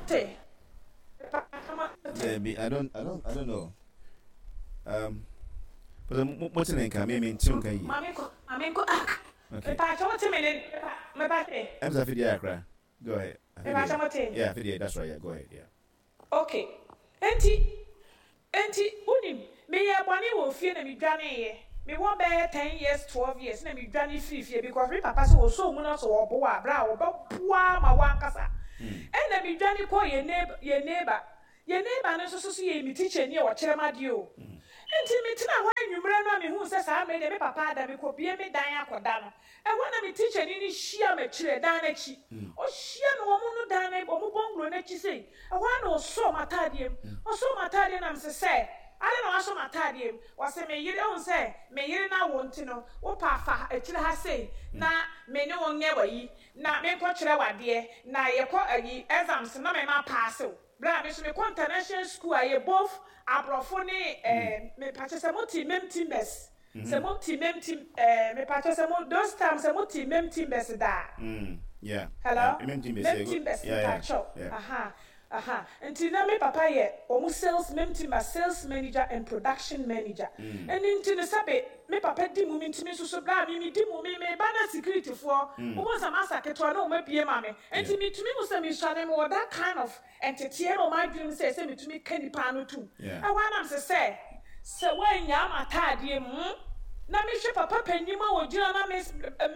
Speaker 2: Te.
Speaker 3: Maybe I don't know. But mo te ne nka me nte nka yi.
Speaker 2: Mame ko mame ko ah.
Speaker 3: Okay.
Speaker 2: Mepa kyɛ wote me ne mepa te.
Speaker 3: I'm sorry, Fidi Accra. Go ahead.
Speaker 2: Mepa kyɛ mote.
Speaker 3: Yeah, Fidi, that's right. Yeah, go ahead. Yeah.
Speaker 2: Okay. Enti wonim meyɛ bɔne wɔ fie na medwaneeɛ.
Speaker 6: Me wɔ bɛyɛ 10 years, 12 years na me dwane firi fie because me papa sɛ ɔsɔ mu na sɛ ɔboa a, berɛ a ɔbɛboa ma wankasa. Ɛna me dwane kɔ yɛ neighbor no nso so yɛ me teacher ni a ɔkyerɛ m adeɛ o. Nti metena hɔ anwummerɛ no a, mehu sɛ saa mmerɛ deɛ me papa ada, mekɔbie me dan akɔda no, ɛhɔ na me teacher ni no hyia m'akyire dan n'akyi. Ɔhyia me wɔ mo no dan no, ɔmo bungalow n'akyi sei. Ɛhɔ a na ɔsɔɔ m'ataadeɛ mu. Ɔsɔɔ m'ataadeɛ nam sɛ ade na wasɔ m'ataadeɛ mu. Ɔsɛ me yere ehu sɛ me yere na wo nti no wopa fa akyire ha sei na me ne wo nyɛ wayi na menkɔkyerɛ wadeɛ na yɛkɔ ayi exams na me ma pass wo. Berɛ a me nso mekɔ international school a yɛ both aborɔfo ne mepakyɛ sɛ mote Mem Timbers, sɛ mote Mem Tim mepakyɛ sɛ mo those times sɛ mote Mem Timbers daa? Hello?
Speaker 3: Mem Timbers.
Speaker 6: Mem Timbers, mepakyɛw. Aha, aha. Nti na me papa yɛ wɔn sales, Mem Timbers sales manager and production manager. Ɛno nti no, sɛbe me papa di mu, me ntumi nso so berɛ a me di mu, me ba na security foɔ wɔn sɛ masa ketewa na wɔn abie ma me. Nti metumi mu sɛ mesuane, mewɔ that kind of nteteɛ na wɔn adwene mu sɛ metumi ka nipa ano tum. Ɛhɔ anam sɛ wɔanya ama ataadeɛ mu na mehwɛ papa panyin a wɔgyina na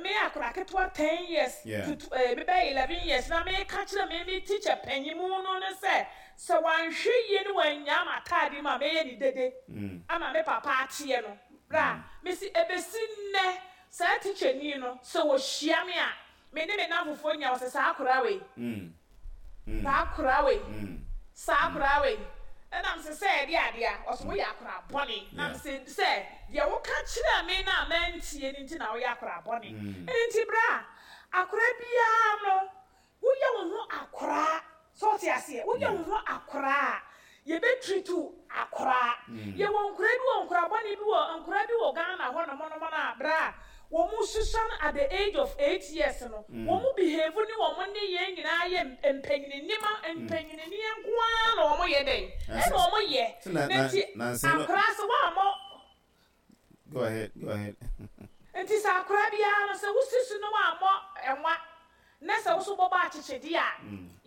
Speaker 6: me akora ketewa 10 years to mebɛyɛ 11 years na meka kyerɛ me teacher panyin mu no ne sɛ wanhwɛ yie ne wanya ama ataadeɛ mu a, mɛyɛ ne dede ama me papa ateɛ no. Bra mesi ebesi nnɛ, saa teacher ni no, sɛ wɔhyia me a, me ne me namfofoɔ nya wɔ sɛ saa akora wei, saa akora wei, saa akora wei. Ɛnam sɛ ɛde adeɛ a ɔsɛ woyɛ akora bɔne nam sɛ deɛ woka kyerɛ me na mantie no nti na woyɛ akora bɔne. Ɛno nti, bra, akora biara no, woyɛ wo ho akoraa sɛ ɔte aseɛ, woyɛ wo ho akoraa a, yɛbɛtiritu akoraa. Yɛwɔ nkora bi wɔ nkora bɔne bi wɔ nkora bi wɔ Ghana hɔ nom nom no a, bra, wɔn mu susan at the age of 8 years no, wɔn mu behave ne wɔn ne yɛn nyinaa yɛ mpanyinima mpanyinineɛ nko ara na wɔn yɛ dɛn ɛna wɔn yɛ
Speaker 3: Na
Speaker 6: ne nti akoraa sɛ wɔamɔ.
Speaker 3: Go ahead, go ahead.
Speaker 6: Nti sɛ akora biara no, sɛ wosi so na wɔammɔ ɛnwa na sɛ woso bɔbɔ akyekyedeɛ a,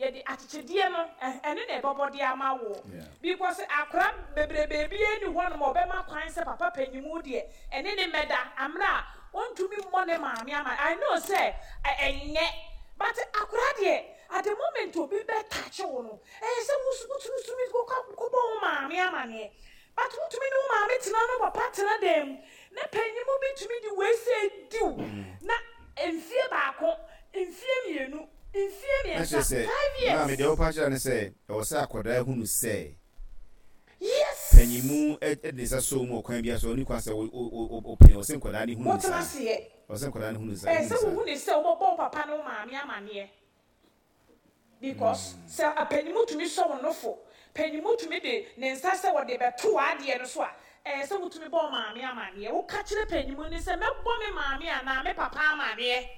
Speaker 6: yɛde akyekyedeɛ no ɛne na ɛbɛbɔ de ama wo because akora bebrebe bi ani hɔ nom ɔbɛma kwan sɛ papa panyimu deɛ ɛne ne mmɛda amena a ɔntumi mmɔ ne maame ama. I know sɛ ɛnyɛ, but akora deɛ, at the moment obi bɛtakye wo no, ɛyɛ sɛ wotumi tumi kɔbɔ wo maame amaneɛ. But wotumi ne wo maame tena no, papa tena dan mu na panyimu bi tumi de wei sɛ diw na mfie 1, mfie 2, mfie
Speaker 3: na kyerɛ
Speaker 6: 3,
Speaker 3: sɛ
Speaker 6: 5 years.
Speaker 3: Maame, deɛ wopa kyerɛ ne sɛ ɛwɔ sɛ akwadaa hunu sɛ panyimu de ne nsa sɔ mu ɔkwan bi so, ɔne kwan sɛ ɔpene wɔ sɛ nkwadaa ne hunu ne
Speaker 6: wotena
Speaker 3: saa
Speaker 6: seɛ
Speaker 3: ɔwɔ sɛ nkwadaa ne hunu saa
Speaker 6: ɛɛ
Speaker 3: hunu
Speaker 6: sɛ
Speaker 3: saa.
Speaker 6: Wohu ne sɛ wobɛbɔ wo papa ne wo maame amanneɛ because sɛ apanyimu tumi sɔ wo nofo, panyimu tumi de ne nsa sɛ wɔde bɛto w'adeɛ no so a, ɛyɛ sɛ wotumi bɔ wo maame amanneɛ. Woka kyerɛ panyimu ne sɛ mɛbɔ me maame anaa me papa amanneɛ.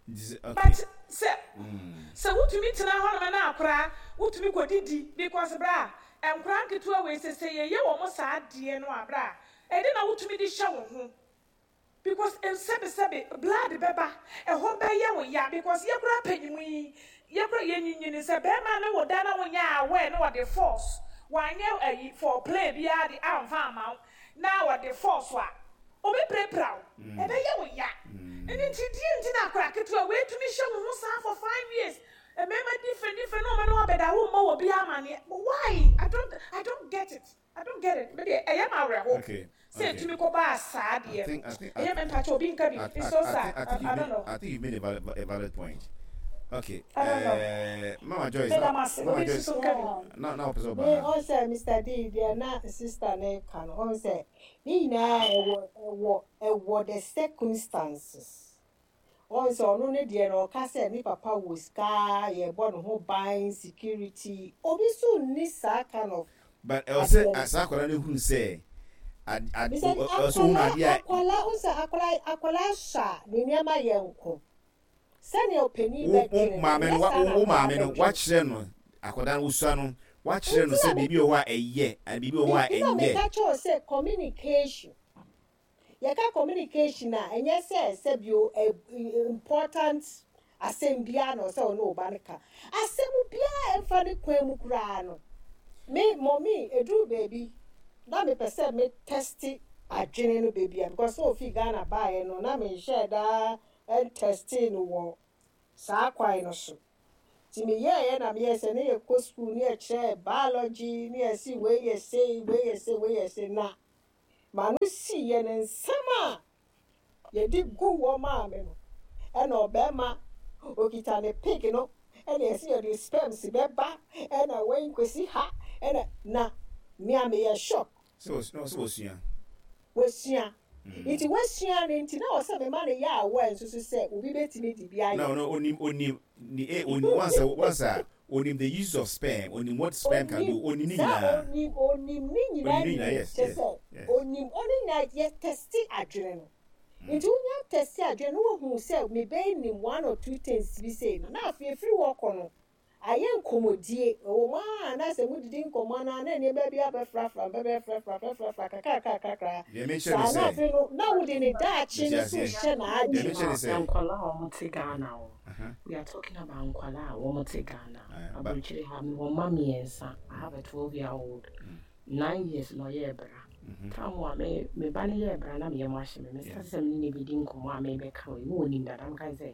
Speaker 3: Nti sɛ okay.
Speaker 6: But sɛ wotumi tena hɔnom na akora wotumi kɔdidi because bra, nkora nketewa wei sɛ yɛyɛ wɔn saa adeɛ no a, bra, ɛde na wotumi de hyɛ wo ho because nsɛbesɛbe blood bɛba ɛhɔ bɛyɛ wo ya because yɛkora panyimu yi, yɛkora yɛnyinyini sɛ bɛrima ne wo da na wonyɛ aware na wɔde force wanyɛ ayi for play biara de amfa ama wo na wɔde force a obɛpirapira wo, ɛbɛyɛ wo ya. Ɛno nti deɛ nti na akora ketewa weitumi hyɛ wo ho saa for 5 years, mmarima different different na ɔma ne wabɛda, wo mmɔ wɔ bi amaneɛ. Why? I don't get it, I don't get it. Mede ɛyɛ ma awerɛho sɛ etumi kɔ baa saa deɛ no, ɛyɛ mɛ mpakyɛ obi nka bi. It's so sad.
Speaker 3: I
Speaker 6: I don't know.
Speaker 3: I think you've made a valid point. Okay.
Speaker 6: I don't know.
Speaker 3: Mama Joyce.
Speaker 6: Meda mo ase.
Speaker 3: Mama
Speaker 6: Obi
Speaker 3: Joyce.
Speaker 6: nso nka bi.
Speaker 3: Na ɔpɛ sɛ
Speaker 4: Me
Speaker 3: ɔba.
Speaker 4: ɔn sɛ Mr D deɛ na sister ne ka no, ɔn sɛ ne nyinaa ɛwɔ the circumstances. Ɔn sɛ ɔno ne deɛ no, ɔka sɛ ne papa wɔ sika, yɛbɔ ne ho ban, security, obi so nni saa kind of
Speaker 3: But ɛwɔ sɛ
Speaker 4: adeɛ no.
Speaker 3: Saa akwadaa no hunu sɛ
Speaker 4: Mr.
Speaker 3: ɔsɛ ohunu
Speaker 4: Akwadaa
Speaker 3: adeɛ a
Speaker 4: akwadaa ɔn sɛ akwadaa hyɛ a ne nneɛma yɛ nko sɛnea ɔpanin
Speaker 3: wo
Speaker 4: bɛdwene no
Speaker 3: maame no
Speaker 4: nyɛ
Speaker 3: wa
Speaker 4: saa na
Speaker 3: wo
Speaker 4: akwadaa
Speaker 3: maame no
Speaker 4: bɛdwene.
Speaker 3: wakyerɛ no akwadaa no wosua no, wakyerɛ no
Speaker 4: Nti
Speaker 3: sɛ
Speaker 4: na
Speaker 3: biribi wɔ hɔ a ɛyɛ and biribi wɔ hɔ a
Speaker 4: nti na
Speaker 3: ɛnyɛ.
Speaker 4: meka kyerɛw sɛ communication, yɛka communication a, ɛnyɛ sɛ sɛbio important asɛm biara na ɔsɛ ɔne ɔba no ka asɛm biara ɛmfa ne kwan mu koraa no. Me mɔmi eduru baabi na mepɛ sɛ me test. adwene no baabi a, because sɛ ɔfii Ghana baeɛ no na menhyɛɛ da ntɛstee no wɔ saa kwan no so. Nti meyɛeɛ na meyɛɛ sɛ ne yɛkɔ sukuu ne yɛkyerɛɛ biology ne yɛse wei yɛ sei, wei yɛ sei, wei yɛ sei na m'ano siiɛ no nsɛm a yɛde gu hɔ maa me no ɛna ɔbarima ɔkita ne pig no ɛna yɛse yɛde sperms bɛba ɛna wei nkɔsi ha ɛna na me a meyɛ shock.
Speaker 3: Sɛ wɔsua.
Speaker 4: Wasua. Nti wasua no nti na ɛwɔ sɛ mema no yɛ aware nso so sɛ obi bɛtumi de bi ayɛ.
Speaker 3: Na ɔno onim onim ne eh onim once a once a onim the use of sperm onim what sperm can do onim ne
Speaker 4: Saa
Speaker 3: nyinaa.
Speaker 4: onim onim ne nyinaa
Speaker 3: Onim ne nyinaa
Speaker 4: nim
Speaker 3: yes
Speaker 4: kyerɛ
Speaker 3: yes
Speaker 4: sɛ
Speaker 3: yes.
Speaker 4: onim ɔne nyinaa yɛ tɛste adwene no. Nti wonya tɛste adwene no na wahu sɛ me ba yi nim one or two things bi sei no na afei ɛfiri hɔ kɔ no Ayɛ nkɔmmɔdie. Ɛwɔ mu ara na sɛ modidi nkɔmmɔ no ara na nneɛma bi abɛfrafra, bɛbɛfrafra, frafrafra kakrakrakra
Speaker 3: Deɛ mekyerɛ ne
Speaker 4: saa na
Speaker 3: sɛ,
Speaker 4: afei no na wode ne daakye
Speaker 3: mete
Speaker 4: no nso
Speaker 3: aseɛ.
Speaker 4: rehyɛ
Speaker 3: Deɛ
Speaker 4: n'adwene
Speaker 3: mekyerɛ ne sɛ.
Speaker 2: Nkwadaa a wɔte Ghana o,
Speaker 3: Aha.
Speaker 2: we are talking about nkwadaa a wɔte Ghana.
Speaker 3: Aye, ba.
Speaker 2: Aburokyire ha, mewɔ mma mmiɛnsa. I have a 12 year old, 9 years na ɔyɛɛ bra. Time a me ba no yɛɛ bra na me yam ahye me. Me start sɛ me ne no bɛdi nkɔmmɔ a merebɛka wei, na ɔnim dada. Meka ne sɛ,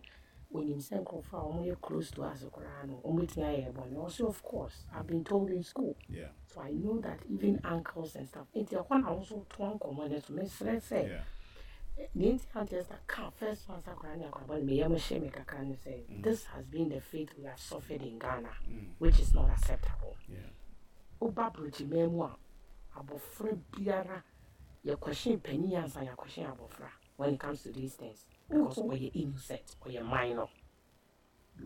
Speaker 2: onim sɛ nkurɔfoɔ a wɔyɛ close to us koraa no, wɔbɛtumi ayɛ yɛn bɔne. Ɔse of course, I've been told in school. So I know that even uncles and stuff. Nti ɛhɔ na wo nso toa nkɔmmɔ no so. Mesrɛ sɛ, deɛ nti a Auntie Esther ka first one sɛ akwadaa ne akwadaa bɔne, me yam hye me kakra ne sɛ, this has been the fate we have suffered in Ghana, which is not acceptable. Woba aburokyiman mu a, abɔfra biara, yɛkɔhye panin ansa yɛakɔhye abɔfra when it comes to these things because ɔyɛ innocent, ɔyɛ minor.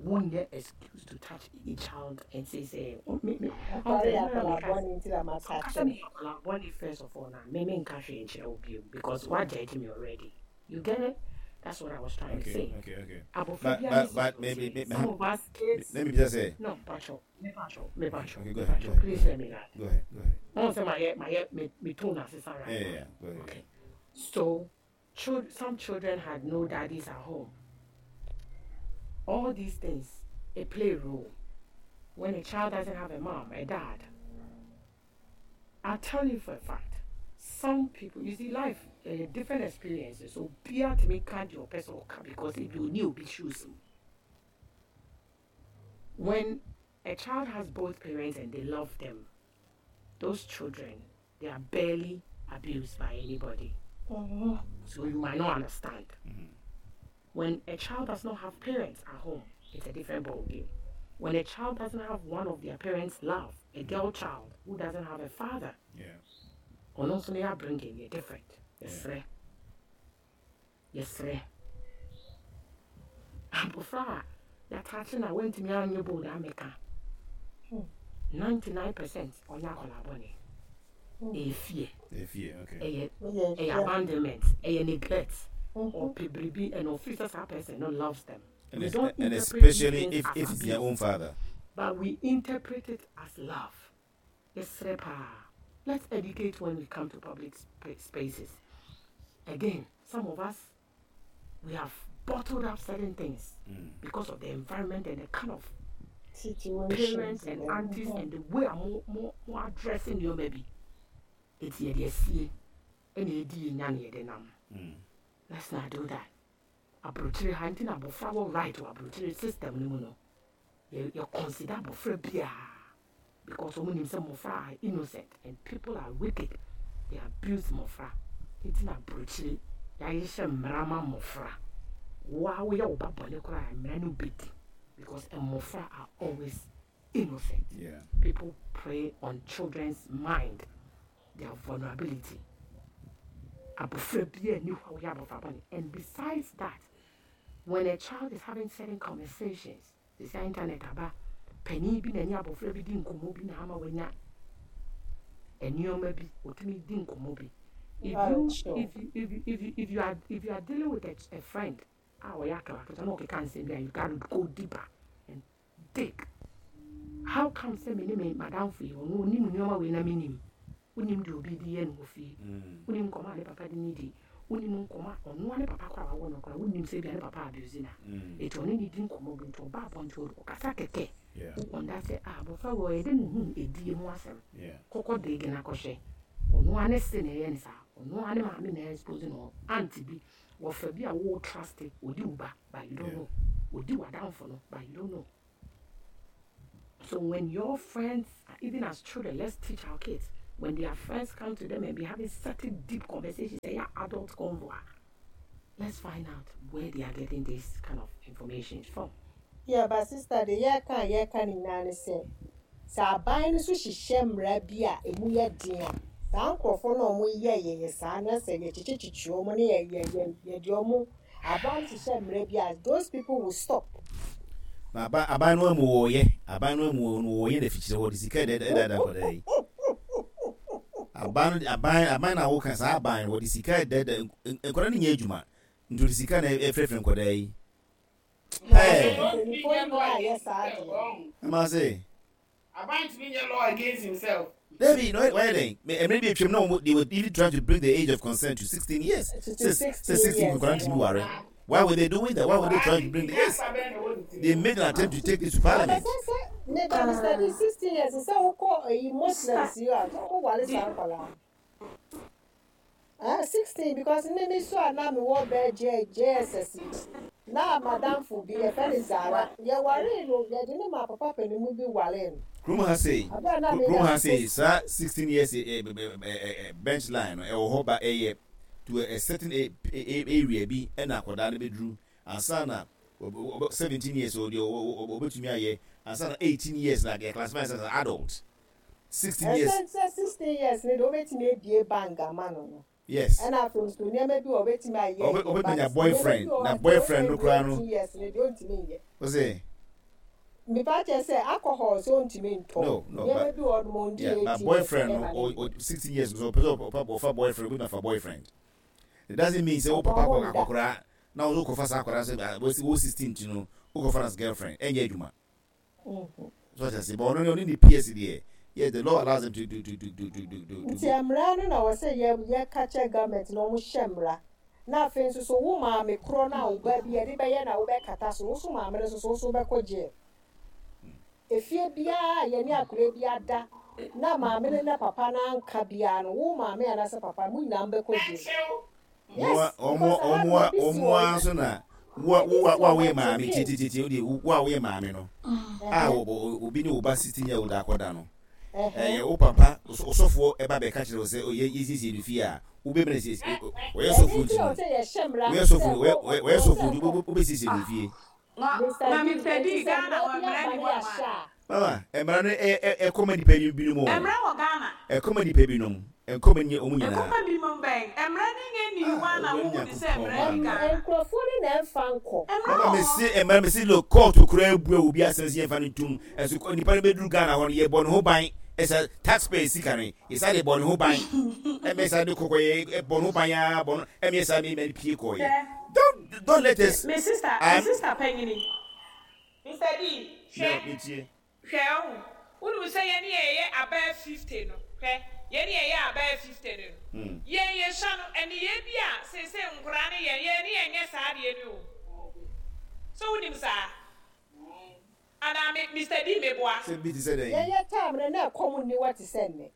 Speaker 2: Wonyɛ excuse to touch any child and say sɛ me
Speaker 4: Akwadaa yɛ akwadaa bɔne nti na ma touch
Speaker 2: kasa
Speaker 4: no.
Speaker 2: me akwadaa bɔne. First of all na me menka hwee nkyerɛ wo bio because wa judge me already. You get it? That's what I was trying to say.
Speaker 3: Okay.
Speaker 2: Abɔfra
Speaker 3: But
Speaker 2: biara
Speaker 3: but
Speaker 2: ne
Speaker 3: but maybe
Speaker 2: some of us kids
Speaker 3: let me just say.
Speaker 2: No, pacho, me pacho, me pacho,
Speaker 3: Okay, go
Speaker 2: me
Speaker 3: ahead,
Speaker 2: pacho.
Speaker 3: go ahead,
Speaker 2: Please let me land.
Speaker 3: Go ahead, go ahead.
Speaker 2: Wɔn sɛ mayɛ me tone asesa right now.
Speaker 3: Yeah, go ahead.
Speaker 2: Okay. So, some children had no daddies at home. All these things, they play a role. When a child doesn't have a mom, a dad, I'll tell you for a fact, some people, you see, life, different experiences. So, be to me can't your person because if you knew be shoes. When a child has both parents and they love them, those children, they are barely abused by anybody. So you might not understand. When a child does not have parents at home, it's a different ballgame. When a child doesn't have one of their parents' love, a girl child who doesn't have a father, ɔno nso ne upbringing yɛ different. Yɛsrɛ. Yɛsrɛ. Abɔfra a yɛataakye na wantumi anyɛ bold amɛka. 99% ɔnyɛ akwadaa bɔne. Ɛyɛ fear.
Speaker 3: Fear, okay.
Speaker 2: Ɛyɛ abandonment. Ɛyɛ neglect. Ɔpɛ biribi and ɔfeel sɛ saa person no loves them.
Speaker 3: And,
Speaker 2: We
Speaker 3: es-
Speaker 2: don't
Speaker 3: and
Speaker 2: interpret
Speaker 3: especially
Speaker 2: these
Speaker 3: if,
Speaker 2: things
Speaker 3: if
Speaker 2: as
Speaker 3: it's their
Speaker 2: abuse,
Speaker 3: own father.
Speaker 2: but we interpret it as love. Yɛsrɛ paa. Let's educate when we come to public spaces. Again, some of us, we have bottled up certain things because of the environment and the kind of
Speaker 4: Situations
Speaker 2: parents and aunties and the way I'm more addressing you maybe. It's yɛ deɛ sie ɛna edi yɛ nya na yɛde nam. Let's not do that. Aburokyire ha nti na abɔfra wɔ right wɔ aburokyire system no mu no. Yɛ consider abɔfra biara because wɔn nim sɛ mmɔfra are innocent and people are wicked. They abuse mmɔfra. Nti na aburokyire yɛahyehyɛ mmara ma mmɔfra. Wo a woyɛ wo ba bɔne koraa mmara no bɛdi because mmɔfra are always innocent. People prey on children's mind, their vulnerability. Abɔfra biara nni hɔ a woyɛ abɔfra bɔne. And besides that, when a child is having certain conversations, sɛ internet aba, panin bi na ne abɔfra bi di nkɔmmɔ bi na ama wanya nneɛma bi, otumi di nkɔmmɔ bi. If you if you if you if you if you are if you are dealing with a friend a ɔyɛ akɛwakɛwa na ɔkeka nsɛm bi a, you gotta go deeper and dig. How come sɛ me ne me madamfo yi, ɔno onim nneɛma wei na menim? Wonim deɛ obi de yɛ no wɔ fie, wonim nkɔmmɔ a ne papa de ne di, wonim nkɔmmɔ a ɔnoa ne papa koraa wawɔ no koraa, wonim sɛ bia ne papa abuse na ɛti ɔne ne di nkɔmmɔ bi nti ɔba abɔnten ɔkasa kɛkɛ. Wowɔnda sɛ ah, abɔfra wɔ ɔyɛ dɛ ne hu edie ho asɛm. Kɔkɔ dig na kɔhwɛ ɔnoa ne se na ɛyɛ ne saa. Ɔno ara ne maame na expose no. Aunt bi, wɔfa bi a wo trust, odi wo ba, but you don't know. Odi w'adamfo no, but you don't know. So when your friends, even as children, let's teach our kids, when their friends come to them and be having certain deep conversations, they are adult convo. Let's find out where they are getting this kind of information from.
Speaker 4: Yeah, but sister, deɛ yɛreka a yɛreka ne nyinaa ne sɛ, sɛ aban no nso hyehyɛ mmara bi a ɛmu yɛ den a, saa nkurɔfoɔ no a wɔyɛ yɛyɛ saa no, sɛ yɛkyekyekyekye wɔn ne yɛ yɛ yɛ yɛde wɔn, aban no hyehyɛ mmara bi a, those people will stop.
Speaker 3: Na aban aban no amu wɔyɛ aban no amu wɔn wɔyɛ na fikyire hɔ de sika ɛdɛ ɛdɛ akwadaa yi aban no aban aban na awoka saa aban no wɔde sika ɛdɛ ɛdɛ nkwadaa no nyɛ adwuma nti wɔde sika na ɛfrɛfrɛ nkwadaa yi.
Speaker 4: Ɛɛ. Mpanyinfoɔ nyinaa yɛ saa adeɛ.
Speaker 3: Ɛma se.
Speaker 5: Aban ntumi nyɛ law against himself.
Speaker 3: Dabi, na wayɛ dɛn? Mmerɛ bi atwam na wɔn they were even trying to bring the age of consent to 16 years. Sɛ sɛ 16 nkwadaa ntumi ware. Why were they doing that? Why were they trying to bring the yes? They made an attempt to take this to parliament.
Speaker 4: Ne ba Mr. D 16 years sɛ wokɔ ɛyi Muslims yi a wɔn ware saa nkwadaa. Ah, 16 because me me so a na mewɔ bɛɛ J JSS yi na madamfo bi yɛfrɛ no Zara yɛwaree no yɛde ne maa papa panimu bi waree no.
Speaker 3: Kurom ha sei,
Speaker 4: Abere a na
Speaker 3: kurom
Speaker 4: meda
Speaker 3: ha sei
Speaker 4: so.
Speaker 3: saa 16 years eh, eh, eh, eh, bench line no ɛwɔ hɔ ba ɛyɛ to a certain a, a, area bi ɛna akwadaa no bɛduru ansa na 17 years o deɛ ɔbɛtumi ayɛ ansa na 18 years na yɛ classify as an adult. 16 years.
Speaker 4: Ɛsɛ sɛ 16 years no deɛ wobɛtumi abue bank ama no no.
Speaker 3: Yes.
Speaker 4: Ɛna afei nso nneɛma bi wɔ wobɛtumi ayɛ
Speaker 3: yɛ
Speaker 4: but
Speaker 3: ɔbɛtumi anya
Speaker 4: nneɛma bi
Speaker 3: boyfriend
Speaker 4: wɔ
Speaker 3: na
Speaker 4: hɔ a
Speaker 3: boyfriend no
Speaker 4: sɛ
Speaker 3: koraa
Speaker 4: ɔndu
Speaker 3: no.
Speaker 4: 18 years no deɛ ɔntumi nyɛ.
Speaker 3: Ɔsɛ.
Speaker 4: Mepa kyɛ sɛ alcohol sɛ ɔntumi ntɔ.
Speaker 3: No no
Speaker 4: Nneɛma
Speaker 3: but
Speaker 4: bi wɔ hɔ nom ɔndi
Speaker 3: yeah but
Speaker 4: 18 years
Speaker 3: boyfriend no
Speaker 4: ɛma no
Speaker 3: o
Speaker 4: nyɛ.
Speaker 3: o 16 years so ɔpɛ sɛ ɔfa ɔfa boyfriend obɛtumi afa boyfriend. It doesn't mean sɛ wo
Speaker 4: Papa
Speaker 3: papa
Speaker 4: ɔmo
Speaker 3: akɔ
Speaker 4: nda.
Speaker 3: akɔkoraa na wo nso wokɔfa saa akwadaa sɛ wo 16 nti no wokɔfa no as girlfriend ɛnyɛ adwuma. So ɔte ase, but ɔno ne ɔne ne PS deɛ, yes the law allows them to to to to to to to to
Speaker 4: Nti mmara no na wɔ sɛ yɛ yɛ ka kyerɛ government na wɔn hyɛ mmara. Na afei nso so wo maame korɔ no a wo ba bi yɛde bɛyɛ na wo bɛ kata so no wo so maame no nso so wo so wo bɛ kɔ jail. Efie biara a yɛne akwadaa bi ada na maame no ne papa no anka biara no wo maame anaasɛ papa mo nyinaa mo bɛ kɔ jail. Yes, because aha no ebi si
Speaker 3: Wɔn
Speaker 4: wɔ
Speaker 3: ara nso na wo a
Speaker 4: ebi
Speaker 3: wo a
Speaker 4: si
Speaker 3: wo a
Speaker 4: wɔ
Speaker 3: woyɛ maame
Speaker 4: Matokee.
Speaker 3: tietietie wo deɛ wo a woyɛ maame no a obi ne wo ba 16 year old akɔda no ɛyɛ wo papa ɔsɔfoɔ ɛba bɛka kyerɛ wo sɛ ɔyɛ yɛsiesie no fie a wobɛmɛ siesie ɔyɛ
Speaker 4: Ɛno
Speaker 3: sɔfoɔ
Speaker 4: nti
Speaker 3: nti
Speaker 4: na
Speaker 3: no
Speaker 4: ɔsɛ yɛhyɛ mmara
Speaker 3: woyɛ
Speaker 4: sɛ
Speaker 3: sɔfo wɔyɛ
Speaker 4: ɔsɛ
Speaker 3: sɔfo nti
Speaker 4: nkɔ
Speaker 3: wobɛsiesie no fie.
Speaker 4: Mister
Speaker 6: Na
Speaker 4: D,
Speaker 6: Mister
Speaker 4: enti
Speaker 6: D,
Speaker 4: sɛ
Speaker 6: Ghana
Speaker 4: mmara
Speaker 6: hɔ
Speaker 4: bi
Speaker 6: mmara
Speaker 4: aba
Speaker 6: nni
Speaker 4: ne
Speaker 6: hɔ nom
Speaker 4: yɛahyɛ
Speaker 6: a.
Speaker 4: a.
Speaker 3: Mama, mmara no ɛkɔ ma nnipa binom o.
Speaker 6: Mmara wɔ Ghana.
Speaker 3: Ɛkɔ ma nnipa binom, ɛnkɔ ma wɔn nyinaa.
Speaker 6: Ɛkɔ ma binom bɛn? Mmara no nyɛ nni hɔ a na
Speaker 3: Ah,
Speaker 6: wohu no sɛ
Speaker 3: Awurade
Speaker 6: mmara nni
Speaker 3: Nyankopɔn,
Speaker 6: Ghana.
Speaker 4: Nkurɔfoɔ no na ɛmfa nkɔ.
Speaker 6: Mmara
Speaker 3: Mama
Speaker 6: wɔ
Speaker 3: me
Speaker 6: hɔ.
Speaker 3: se mmara me se look court koraa abua obi asɛm sɛ yɛmfa no ntom ɛso nipa no bɛduru Ghana hɔ no yɛbɔ ne ho ban ɛsɛ taxpayer sika no yɛsa de bɔ ne ho ban ɛmɛ sa de kɔkɔ yɛ bɔ ne ho ban aa bɔ no ɛmɛ sa me mɛ pie kɔ yɛ
Speaker 6: Hwɛ,
Speaker 3: don't don't let us
Speaker 6: me sister, me
Speaker 3: I'm
Speaker 6: sister panyini. Mister D,
Speaker 3: no
Speaker 6: hwɛ,
Speaker 3: me tie.
Speaker 6: Hwɛ ɔho, wonim sɛ yɛne yɛyɛ abɛɛ 50 no, hwɛ, yɛne yɛyɛ abɛɛ 50 no no, yɛn yɛsua no, nneyɛɛ bi a seesei nkoraa no yɛ, yɛn ne yɛnyɛ saa adeɛ no o. So wonim saa? Anaa me, Mister D, meboa?
Speaker 3: Sɛ bi te sɛ dɛn?
Speaker 4: Yɛyɛ time no na ɛkɔm nni hɔ te sɛ nnɛ.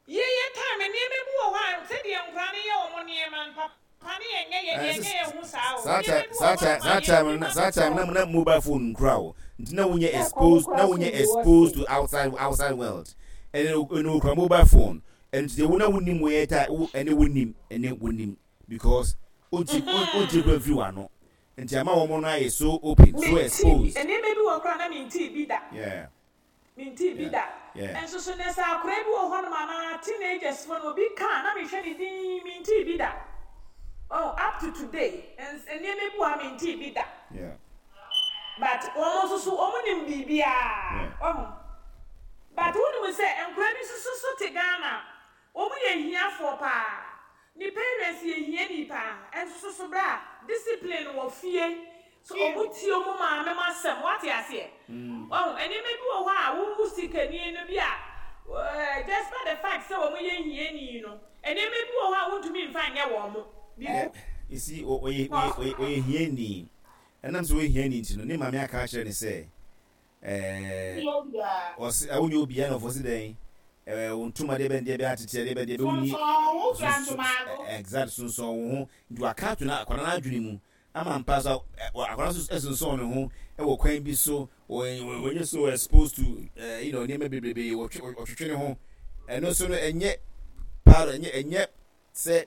Speaker 6: Yɛyɛ time nneɛma bi wɔ hɔ a sɛdeɛ nkwadaa no yɛ wɔn nneɛma no papa no yɛnyɛ yɛ yɛnyɛ yɛn ho saa o
Speaker 3: Saa
Speaker 6: nneɛma
Speaker 3: time
Speaker 6: bi wɔ
Speaker 3: saa
Speaker 6: hɔ
Speaker 3: time
Speaker 6: nom a
Speaker 3: saa
Speaker 6: yɛn
Speaker 3: time
Speaker 6: bi
Speaker 3: no
Speaker 6: ma
Speaker 3: saa time
Speaker 6: no
Speaker 3: na na mobile phone nkura o nti na wonyɛ
Speaker 4: Na ɛkɔm
Speaker 3: exposed na
Speaker 4: koraa so
Speaker 3: wonyɛ
Speaker 4: nni hɔ
Speaker 3: exposed
Speaker 4: sei.
Speaker 3: to outside outside world ɛne ɛne okura mobile phone ɛno nti deɛ wo na wonim wɔyɛ ta wo ɛne wonim ɛne wonim because wonti wonti kura mfiri w'ano nti ama wɔn no ayɛ so open so
Speaker 6: Mentee bi
Speaker 3: exposed
Speaker 6: nneɛma bi wɔ hɔ koraa na mentee bi da.
Speaker 3: yeah.
Speaker 6: Mentee bi
Speaker 3: Yeah,
Speaker 6: da.
Speaker 3: yeah.
Speaker 6: Nso so nnɛ sɛ akwadaa bi wɔ hɔnom anaa teenagers fo no obi ka a na mehwɛ no dinn, mentee bi da. Oh, up to today, ns nneɛma bi wɔ ha mentee bi da.
Speaker 3: Yeah.
Speaker 6: But wɔn nso so wɔn nim biribiara.
Speaker 3: Yeah.
Speaker 6: Wahu? But wonim sɛ nkwadaa bi nso so so te Ghana Wɔn yɛ ahiafoɔ paa. Ne parents yɛ hiani paa nso so so bra discipline wɔ fie so ɔmo tie ɔmo maame mo asɛm wate aseɛ wahu nneɛma bi wɔ hɔ a wo wo sikani no bi a despite the fact sɛ wɔn yɛ hiani no nneɛma bi wɔ hɔ a wontumi nfa nyɛ wɔn mo
Speaker 3: Eh, you see, ɔyɛ ɔyɛ ɔyɛ hiani. Ɛnam sɛ ɔyɛ hiani nti no, ne maame aka akyerɛ no sɛ, ɛɛ, ɔse, wonyɛ obiara na ɔfɔ se dɛn? ɛɛ wo ntoma deɛ bɛn deɛ bɛn atete deɛ bɛn deɛ bɛn wonni
Speaker 5: Sonsɔn wo ho fira ntomago.
Speaker 3: Exact, sonsɔn wo ho. Nti waka ato na akwadaa no adwene mu ama mpa so akwadaa nso sonsɔn ne ho wɔ kwan bi so, wɔnyɛ so exposed to nneɛma bebrebe, wɔtwetwe ne ho. Ɛno nso no ɛnyɛ part, ɛnyɛ sɛ.